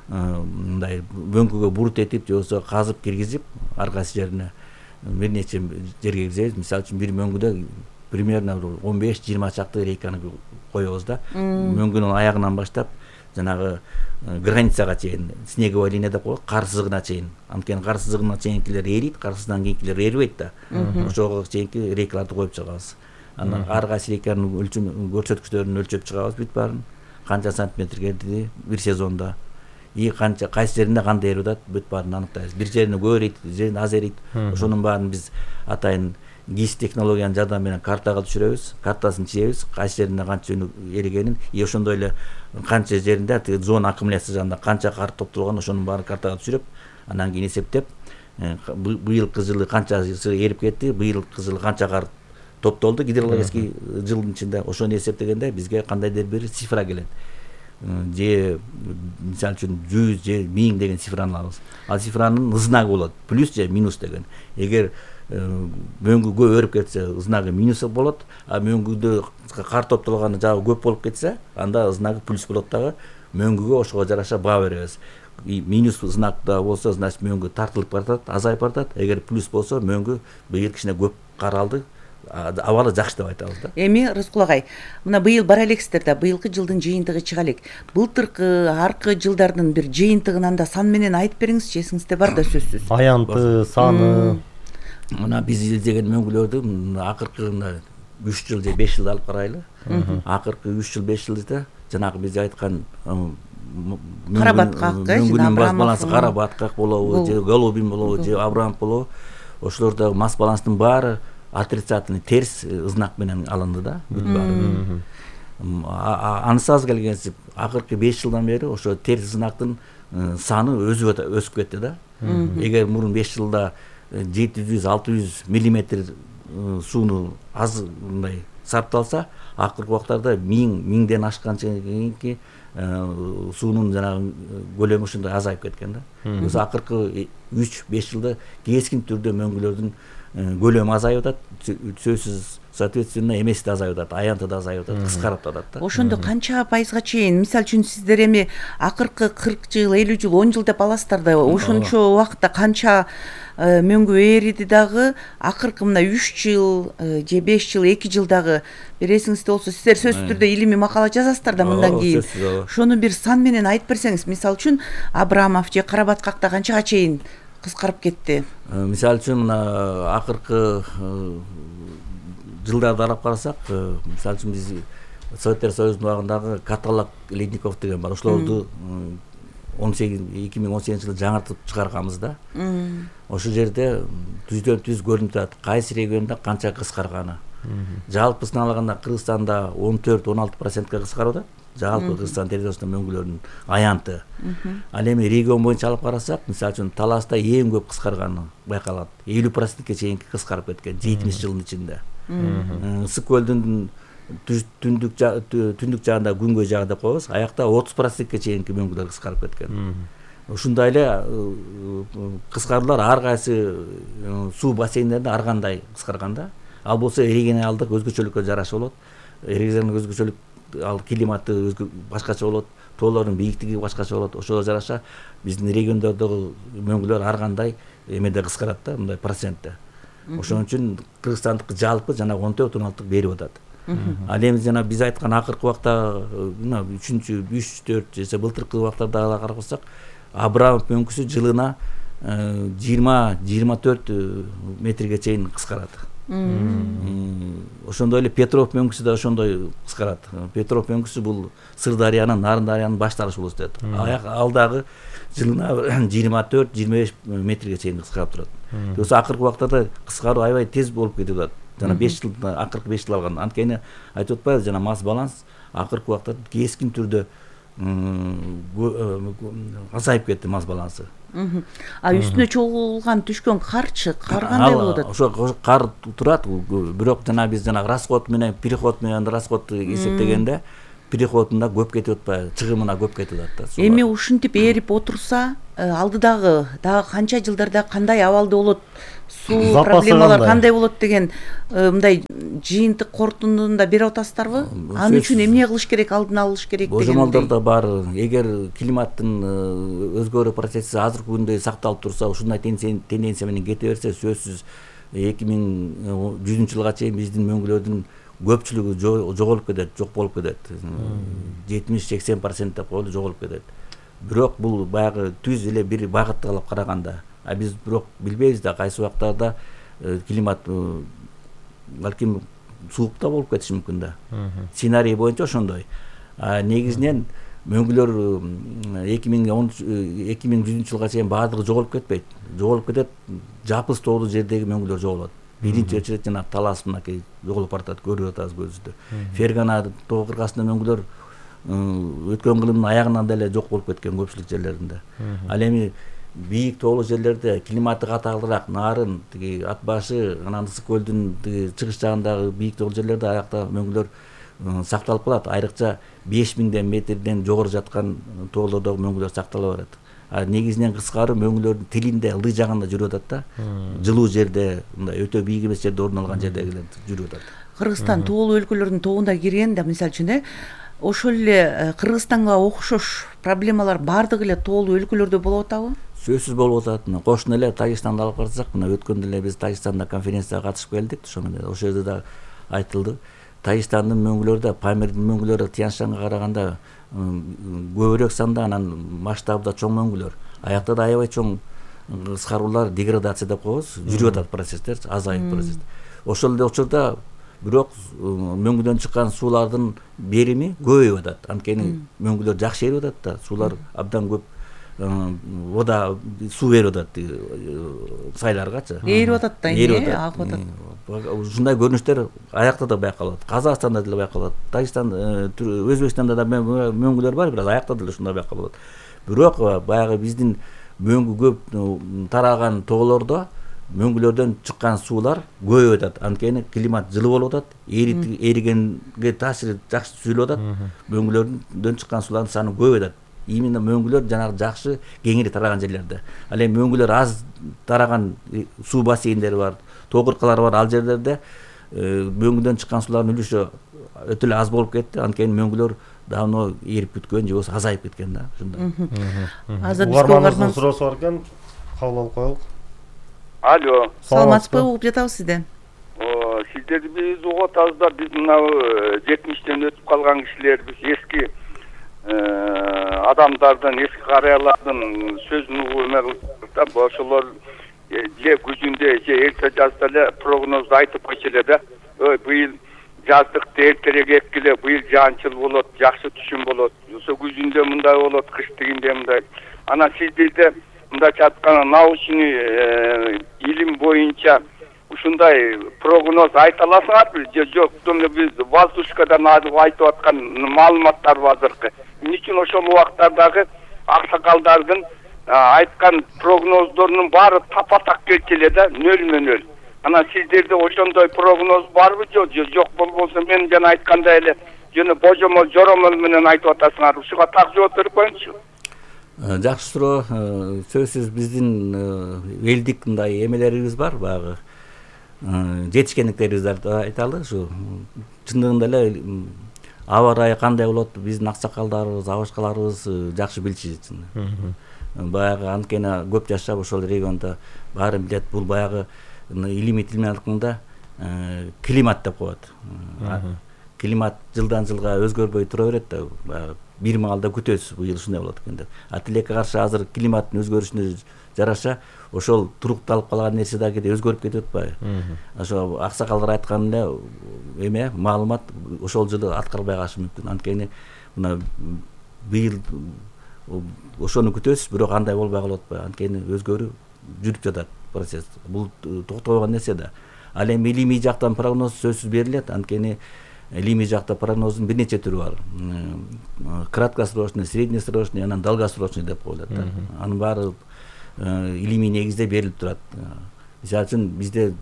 мындай мөңгүгө бурут этип же болбосо казып киргизип ар кайсы жерине бир нече жерге киргизебиз. Мисалы үчүн бир мөңгүдө примерно 15-20 чакты рейканы коебуз да. Мөңгүнүн аягынан баштап жанагы границага чейин, снеговая линия деп коет, кар сызыгына чейин. Анткени кар сызыгына чейинкилер эрийт, кар сызыгынан кийинкилер эрибейт да. Ошого чейинки рейкаларды коюп чыгабыз. Анан ар кайсы рейканын көрсөткүчтөрүн өлчөп чыгабыз бүт баарын. Канча сантиметрге эрди бир сезондо. Канча кайсы жеринде кандай эрип атат бүт баарын аныктайбыз. Бир жерине көп эрийт, бир жерине аз эрийт. Ошонун баарын биз атайын ГИС технологиянын жардамы менен картага түшүрөбүз, картасын чийебиз, кайсы жеринде канча эригенин, ошондой эле канча жеринде зона аккумуляция жагында канча кар топтолгон ошонун баарын картага түшүрүп, анан кийин эсептеп, быйылкы жылы канча эрип кетти, быйылкы жылы канча кар топтолду гидрологический жылдын ичинде, ошону эсептегенде бизге кандайдыр бир цифра келет. Же мисалы үчүн 100 же 1000 деген цифраны алабыз. Ал цифранын знагы болот, плюс же минус деген. Эгер мөңгү көп өрүп кетсе, знагы минус болот, а мөңгүдө кар топтолгону жагы көп болуп кетсе, анда знагы плюс болот дагы. Мөңгүгө ошого жараша баа беребиз. Минус знакта болсо, значит мөңгү тартылып баратат, азайып баратат. Эгер плюс болсо, мөңгү быйыл кичине көп кар алды, абалы жакшы деп айтабыз да.
Эми Рыскул агай, мына быйыл бара элексиздер да, быйылкы жылдын жыйынтыгы чыга элек. Былтыркы, аркы жылдардын бир жыйынтыгын анда сан менен айтып бериңизчи, эсиңизде бар да сөзсүз.
Аянты, саны.
Мына биз издеген мөңгүлөрдү акыркы 3 жыл же 5 жыл алып карайлы. Акыркы 3 жыл 5 жылда жанагы биз айткан
Карабаткак,
мөңгүнүн мас балансы Карабаткак болобу, же Голубин болобу, же Абрамов болобу, ошолордо мас баланстын баары отрицательный терс знак менен алынды да. Анысы аз келгенсип акыркы 5 жылдан бери ошо терс знактын саны өсүп кетти да. Эгер мурун 5 жылда 700-600 миллиметр сууну аз мындай сарпталса, акыркы убактарда 1000ден ашканча кийинки суунун жанагы көлөмү ушундай азайып кеткен да. Өзү акыркы 3-5 жылда кескин түрдө мөңгүлөрдүн көлөмү азайып атат, сөзсүз соответственно эмеси да азайып атат, аянты да азайып атат, кыскарып атат да.
Ошондо канча пайызга чейин, мисалы үчүн сиздер эми акыркы 40 жыл, 50 жыл, 10 жыл деп аласыздар да, ошончо убакытта канча мөңгү эриди дагы, акыркы мына 3 жыл же 5 жыл, 2 жылдагы бир эсиңизде болсо, сиздер сөзсүз түрдө илимий макала жазасыздар да мындан кийин. Ошону бир сан менен айтып берсеңиз, мисалы үчүн Абрамов же Карабаткакта канчага чейин кыскарып кетти?
Мисалы үчүн мына акыркы жылдарды карап карасак, мисалы үчүн биз Советтер Союзунун убагындагы Каталак ледников деген бар. Ошолорду 2018 жылы жаңыртып чыгарганбыз да. Ошол жерде түздөн түз көрүнүп турат кайсы региондо канча кыскарганы. Жалпысын алганда Кыргызстанда 14-16%га кыскарып атат. Жалпы Кыргызстан территориясында мөңгүлөрдүн аянты. Ал эми регион боюнча алып карасак, мисалы үчүн Таласта эң көп кыскарганы байкалат. 50%ге чейин кыскарып кеткен 70 жылдын ичинде. Ысык көлдүн түндүк жагында, күнгөй жагы деп коебуз, аякта 30%ге чейинки мөңгүлөр кыскарып кеткен. Ушундай эле кыскаруулар ар кайсы суу бассейндеринде ар кандай кыскарган да. Ал болсо эрегенин алдык өзгөчөлүккө жараша болот. Эрегенин өзгөчөлүк ал климаты башкача болот, тоолордун бийиктиги башкача болот. Ошого жараша биздин региондордогу мөңгүлөр ар кандай эмеде кыскарат да, мындай процентте. Ошон үчүн Кыргызстандыкы жалпы жана 14-16 берип атат. Ал эми жана биз айткан акыркы убакта 3-4 же былтыркы убактарда карасак, Абрамов мөңгүсү жылына 20-24 метрге чейин кыскарат. Ошондой эле Петров мөңгүсү да ошондой кыскарат. Петров мөңгүсү бул Сырдарыянын, Нарын дарыянын башталышы болот дейт. Ал дагы жылына 24-25 метрге чейин кыскарып турат. Осы акыркы убактарда кыскаруу аябай тез болуп кетип атат. Жана 5 жыл, акыркы 5 жыл алган. Анткени айтып атпайбы, жана масс баланс акыркы убактарда кескин түрдө азайып кетти, масс балансы.
А үстүнө чогулган түшкөн карчы, кар кандай болуп атат?
Ошо кар турат, бирок жана биз расход менен переход менен расход эсептегенде переходунда көп кетип атпайбы, чыгымына көп кетип атат да.
Эми ушинтип ээрип отурса, алдыдагы канча жылдарда кандай абалда болот, суу проблемалар кандай болот деген мындай жыйынтык корутундуну да берип атасыздарбы? Ал үчүн эмне кылыш керек, алдын алыш керек деген?
Божомолдор да бар. Эгер климаттын өзгөрүү процесси азыркы күндө сакталып турса, ушундай тенденция менен кете берсе, сөзсүз 2100 жылга чейин биздин мөңгүлөрдүн көпчүлүгү жоголуп кетет, жок болуп кетет. 70-80% деп коелу, жоголуп кетет. Бирок бул баягы түз эле бир багытты алып караганда, биз бирок билбейбиз да, кайсы убактарда климат балким суук да болуп кетиши мүмкүн да. Сценарий боюнча ошондой. Негизинен мөңгүлөр 2100 жылга чейин баардыгы жоголуп кетпейт. Жоголуп кетет, жапыс тоолуу жердеги мөңгүлөр жоголот. Биринчи очередь жана талас мынакей жоголуп баратат, көрүп атабыз көзүбүздө. Фергана тоо кыргасында мөңгүлөр өткөн кылымдын аягынан деле жок болуп кеткен көпчүлүк жерлеринде. Ал эми бийик тоолуу жерлерде климаты катаалыраак, Нарын, тиги Ат башы, анан Ысык көлдүн чыгыш жагындагы бийик тоолуу жерлерде аякта мөңгүлөр сакталып калат. Айрыкча 5000 метрден жогору жаткан тоолордогу мөңгүлөр сактала берет. Негизинен кыскаруу мөңгүлөрдүн тилинде, ылдый жагында жүрүп атат да. Жылуу жерде, мындай өтө бийик эмес жерде орун алган жердегилер жүрүп атат.
Кыргызстан тоолуу өлкөлөрдүн тобуна кирген да, мисалы үчүн ошол эле Кыргызстанга окшош проблемалар баардык эле тоолуу өлкөлөрдө болуп атабы?
Сөзсүз болуп атат. Кошуна эле Тажикстанды алып карасак, мына өткөндө эле биз Тажикстанда конференцияга катышып келдик. Ошол жерде да айтылды. Тажикстандын мөңгүлөрү да Памирдин мөңгүлөрү Тянь-Шанга караганда көбүрөөк санда, анан масштабы да чоң мөңгүлөр. Аякта да аябай чоң кыскаруулар, деградация деп коебуз, жүрүп атат процесстер, азайып процесс. Ошол эле учурда бирок мөңгүдөн чыккан суулардын берими көбөйүп атат. Анткени мөңгүлөр жакшы эрип атат да, суулар абдан көп вода суу берип атат сайларгачы.
Эрип атат да, агып атат.
Ушундай көрүнүштөр аякта да байкалат. Казакстанда деле байкалат. Тажикстан, Өзбекстанда да мөңгүлөр бар, бирок аякта деле ушундай байкалат. Бирок баягы биздин мөңгү көп тараган тоолордо мөңгүлөрдөн чыккан суулар көбөйүп атат. Анткени климат жылуу болуп атат, эригенге таасири жакшы түзүлүп атат. Мөңгүлөрдөн чыккан суулардын саны көбөйүп атат. Именно мөңгүлөр жанагы жакшы кеңири тараган жерлерде. Ал эми мөңгүлөр аз тараган суу бассейндери бар, тоо кыркалары бар, ал жерлерде мөңгүдөн чыккан суулардын үлүшү өтө эле аз болуп кетти. Анткени мөңгүлөр давно эрип бүткөн же болбосо азайып кеткен да, ушундай.
Угарманыбыздын суроосу бар экен, кабыл алып коелук.
Алло.
Саламатсызбы, угуп жатабыз сизден.
Сиздерди биз угуп атабыз да, биз мына 70-тен өтүп калган кишилер, биз эски адамдардын, эски карыялардын сөзүн угуп эме кылдык да, ошолор же күзүндө же эрте жазда эле прогноз айтып койчу эле да. Быйыл жаздыкты эртерээк эккиле, быйыл жаанчыл болот, жакшы түшүм болот. Ошо күзүндө мындай болот, кыш тигинде мындай. Анан сиздерде мындайча айтканда научный илим боюнча ушундай прогноз айта аласыңарбы же жок? Биз воздушкадан айтып аткан маалыматтар азыркы. Эмне үчүн ошол убактардагы аксакалдардын айткан прогноздорунун баары тапа-так келчү да, нөл. Анан сиздерде ошондой прогноз барбы же жок? Болбосо мен жана айткандай эле жана божомол, жоромол менен айтып атасыңар. Ушуга так жооп берип коюңузчу.
Жакшы суроо. Сөзсүз биздин элдик мындай эмелерибиз бар, баягы жетишкендиктерибизди айталы. Ушу чындыгында эле аба ырайы кандай болот биздин аксакалдарыбыз абашкаларыбыз жакшы билишет. Баягы анткени көп жашап ошол региондо баарын билет. Бул баягы илимий тил менен айтканда климат деп коет. Климат жылдан жылга өзгөрбөй тура берет да. Баягы бир маалда күтөсүз бул жыл ушундай болот экен деп. А тилекке каршы азыр климаттын өзгөрүшүнө жараша ошол турукталып калган нерсе да кээде өзгөрүп кетип атпайбы? Ошо аксакалдар айткан эле маалымат ошол жылы аткарылбай калышы мүмкүн. Анткени мына быйыл ошону күтөсүз, бирок андай болбой калып атпайбы? Анткени өзгөрүү жүрүп жатат процесс. Бул токтобогон нерсе да. Ал эми илимий жактан прогноз сөзсүз берилет. Анткени илимий жакта прогноздун бир нече түрү бар. Краткосрочный, среднесрочный, анан долгосрочный деп коюлат да. Анын баары илимий негизде берилип турат. Мисалы үчүн бизде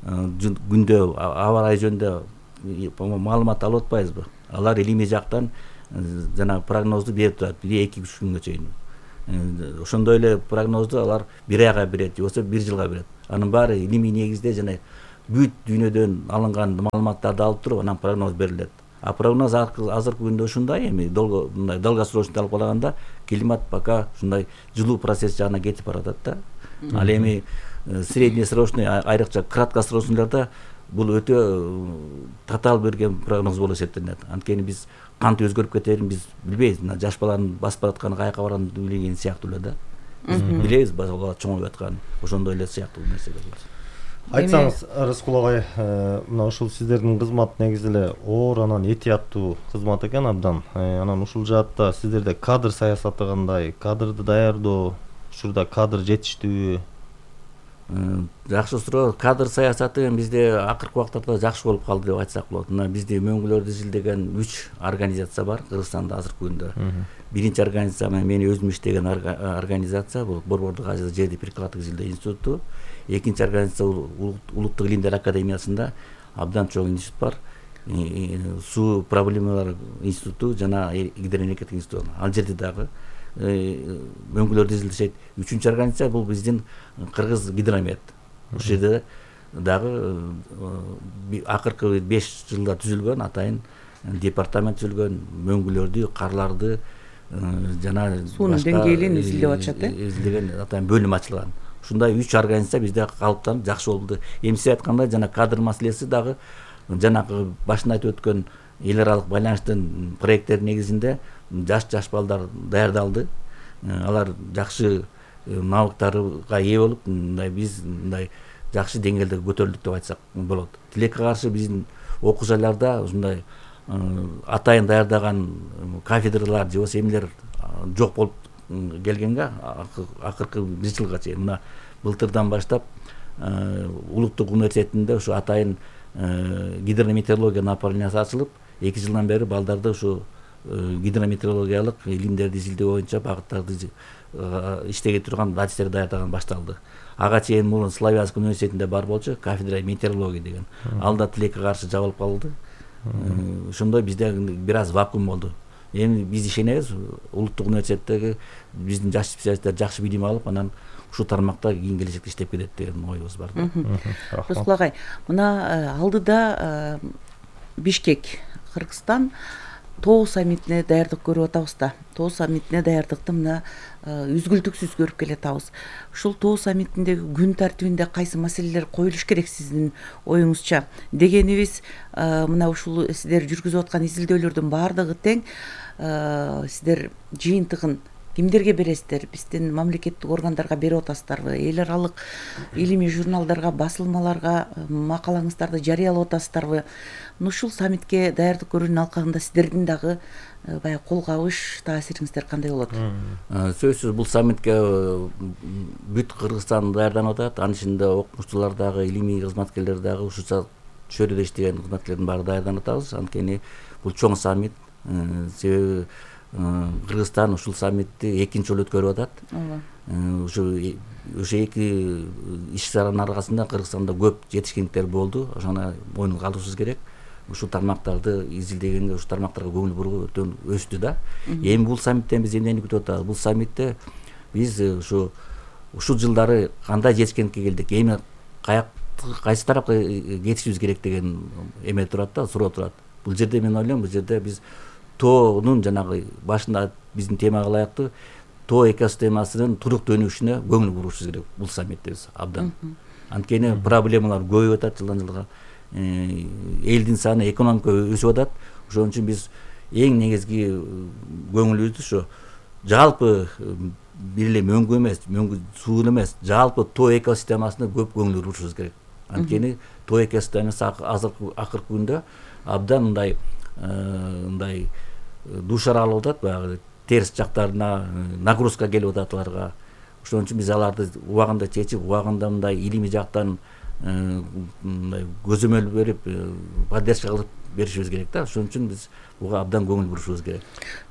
күндө аба ырайы жөнүндө маалымат алып атпайбызбы? Алар илимий жактан жана прогнозду берип турат 1-2-3 күнгө чейин. Ошондой эле прогнозду алар 1 айга берет, же болбосо 1 жылга берет. Анын баары илимий негизде жана бүт дүйнөдөн алынган маалыматтарды алып туруп анан прогноз берилет. А прогноз азыркы күндө ушундай, эми мындай долгосрочный алып караганда климат пока ушундай жылуу процесс жагына кетип баратат да. Ал эми среднесрочный, айрыкча краткосрочныйларда бул өтө татаал берген прогноз болуп эсептелет. Анткени биз кантип өзгөрүп кетерин биз билбейбиз. Жаш баланын басып баратканы каяка барарын билген сыяктуу эле да. Биз билебиз бала чоңоюп атканын. Ошондой эле сыяктуу нерсе болот.
Айтсаңыз, Рыскул агай, мына ушул сиздердин кызмат негизи эле оор, анан этияттуу кызмат экен абдан. Анан ушул жаатта сиздерде кадр саясаты кандай? Кадрды даярдоо, ушурда кадр жетиштүүбү?
Жакшы суроо. Кадр саясаты бизде акыркы убактарда жакшы болуп калды деп айтсак болот. Мына бизде мөңгүлөрдү изилдеген 3 организация бар Кыргызстанда азыркы күндө. Биринчи организация мен өзүм иштеген организация, бул Борбордук Азия жерди прикладдык изилдөө институту. Экинчи организация Улуттук илимдер академиясында абдан чоң институт бар. Суу проблемалар институту жана гидроэнергетика институту. Ал жерде дагы мөңгүлөрдү изилдешет. Үчүнчү организация бул биздин Кыргыз гидромет. Ушул жерде дагы акыркы 5 жылда түзүлгөн атайын департамент түзүлгөн, мөңгүлөрдү, карларды жана
суунун деңгээлин изилдеп атышат,
изилдеген атайын бөлүм ачылган. Ушундай 3 организация бизде калыптанып жакшы болду. Эми сиз айткандай жана кадр маселеси дагы жанагы башында айтып өткөн эл аралык байланыштын проекттер негизинде жаш балдар даярдалды. Алар жакшы навыктарга ээ болуп, биз мындай жакшы деңгээлде көтөрүлдүк деп айтсак болот. Тилекке каршы биздин окуу жайларда ушундай атайын даярдаган кафедралар же болбосо эмнелер жок болуп келгенге акыркы 1 жылга чейин мына былтырдан баштап Улуттук университетинде ушу атайын гидрометеорология направлениясы ачылып, 2 жылдан бери балдарды ушу гидрометеорологиялык илимдерди изилдөө боюнча багыттарды иштеге турган адистер даярдаган башталды. Ага чейин мурун Славянск университетинде бар болчу кафедра метеорология деген. Ал да тилекке каршы жабылып калды. Ошондой бизде бир аз вакуум болду. Эми биз ишенебиз, Улуттук университеттеги биздин жаш специалисттер жакшы билим алып, анан ушул тармакта кийин келечекте иштеп кетет деген оюбуз бар.
Рыскул агай, мына алдыда Бишкек, Кыргызстан тоо саммитине даярдык көрүп атабыз да. Тоо саммитине даярдыкты мына үзгүлтүксүз көрүп келатабыз. Ушул тоо саммитиндеги күн тартибинде кайсы маселелер коюлуш керек сиздин оюңузча? Дегенибиз, мына ушул сиздер жүргүзүп аткан изилдөөлөрдүн баардыгы тең. Сиздер жыйынтыгын кимдерге бересиздер? Биздин мамлекеттик органдарга берип атасыздарбы? Эл аралык илимий журналдарга, басылмаларга макалаңыздарды жарыялап атасыздарбы? Ушул саммитке даярдык көрүүнүн алкагында сиздердин дагы баягы кол кабыш таасириңиздер кандай болот?
Сөзсүз бул саммитке бүт Кыргызстан даярданып атат. Анын ичинде окумуштуулар дагы, илимий кызматкерлер дагы, ушул чөйрөдө иштеген кызматкерлердин баары даярданып атабыз. Анткени бул чоң саммит. Себеби Кыргызстан ушул саммитти 2-нчи жолу өткөрүп атат. Ошо эки иш чаранын аркасында Кыргызстанда көп жетишкендиктер болду. Ошону мойнуна алышыбыз керек. Ушул тармактарды изилдегенге, ушул тармактарга көңүл буруу өтө өстү да. Эми бул саммиттен биз эмнени күтүп атабыз? Бул саммитте биз ушул жылдары кандай жетишкендикке келдик? Эми кайсы тарапка кетишибиз керек деген эме турат да, суроо турат. бул жерде мен ойлойм, бул жерде биз тоонун жанагы башында биздин темага ылайыктуу тоо экосистемасынын туруктуу өнүгүшүнө көңүл бурушубуз керек бул саммитте биз абдан. Анткени проблемалар көбөйүп атат жылдан жылга. Элдин саны, экономика өсүп атат. Ошон үчүн биз эң негизги көңүлүбүздү ошо жалпы бир эле мөңгү эмес, мөңгү суу эмес, жалпы тоо экосистемасына көп көңүл бурушубуз керек. Анткени тоо экосистемасы акыркы күндө абдан мындай дуушар алып атат, баягы терс жактарына нагрузка келип атат аларга. Ошон үчүн биз аларды убагында чечип, убагында мындай илимий жактан мындай көзөмөл берип, поддержка кылып беришибиз керек да. Ошон үчүн биз буга абдан көңүл бурушубуз керек.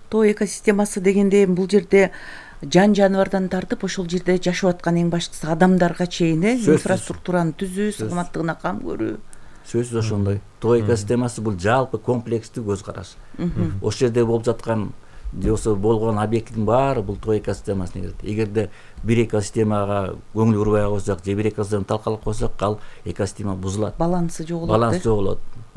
Тоо экосистемасы дегенде бул жерде жан жаныбардан тартып ошол жерде жашап аткан эң баштысы адамдарга чейин инфраструктураны түзүү, саламаттыгына кам көрүү.
Сөзсүз ошондой. Тоо экосистемасы бул жалпы комплекстүү көз караш. Ошол жерде болуп жаткан же болбосо болгон объекттин баары бул тоо экосистемасына кирет. Эгерде бир экосистемага көңүл бурбай койсок же бир экосистеманы талкалап койсок, ал экосистема бузулат.
Балансы жоголот.
Баланс жоголот.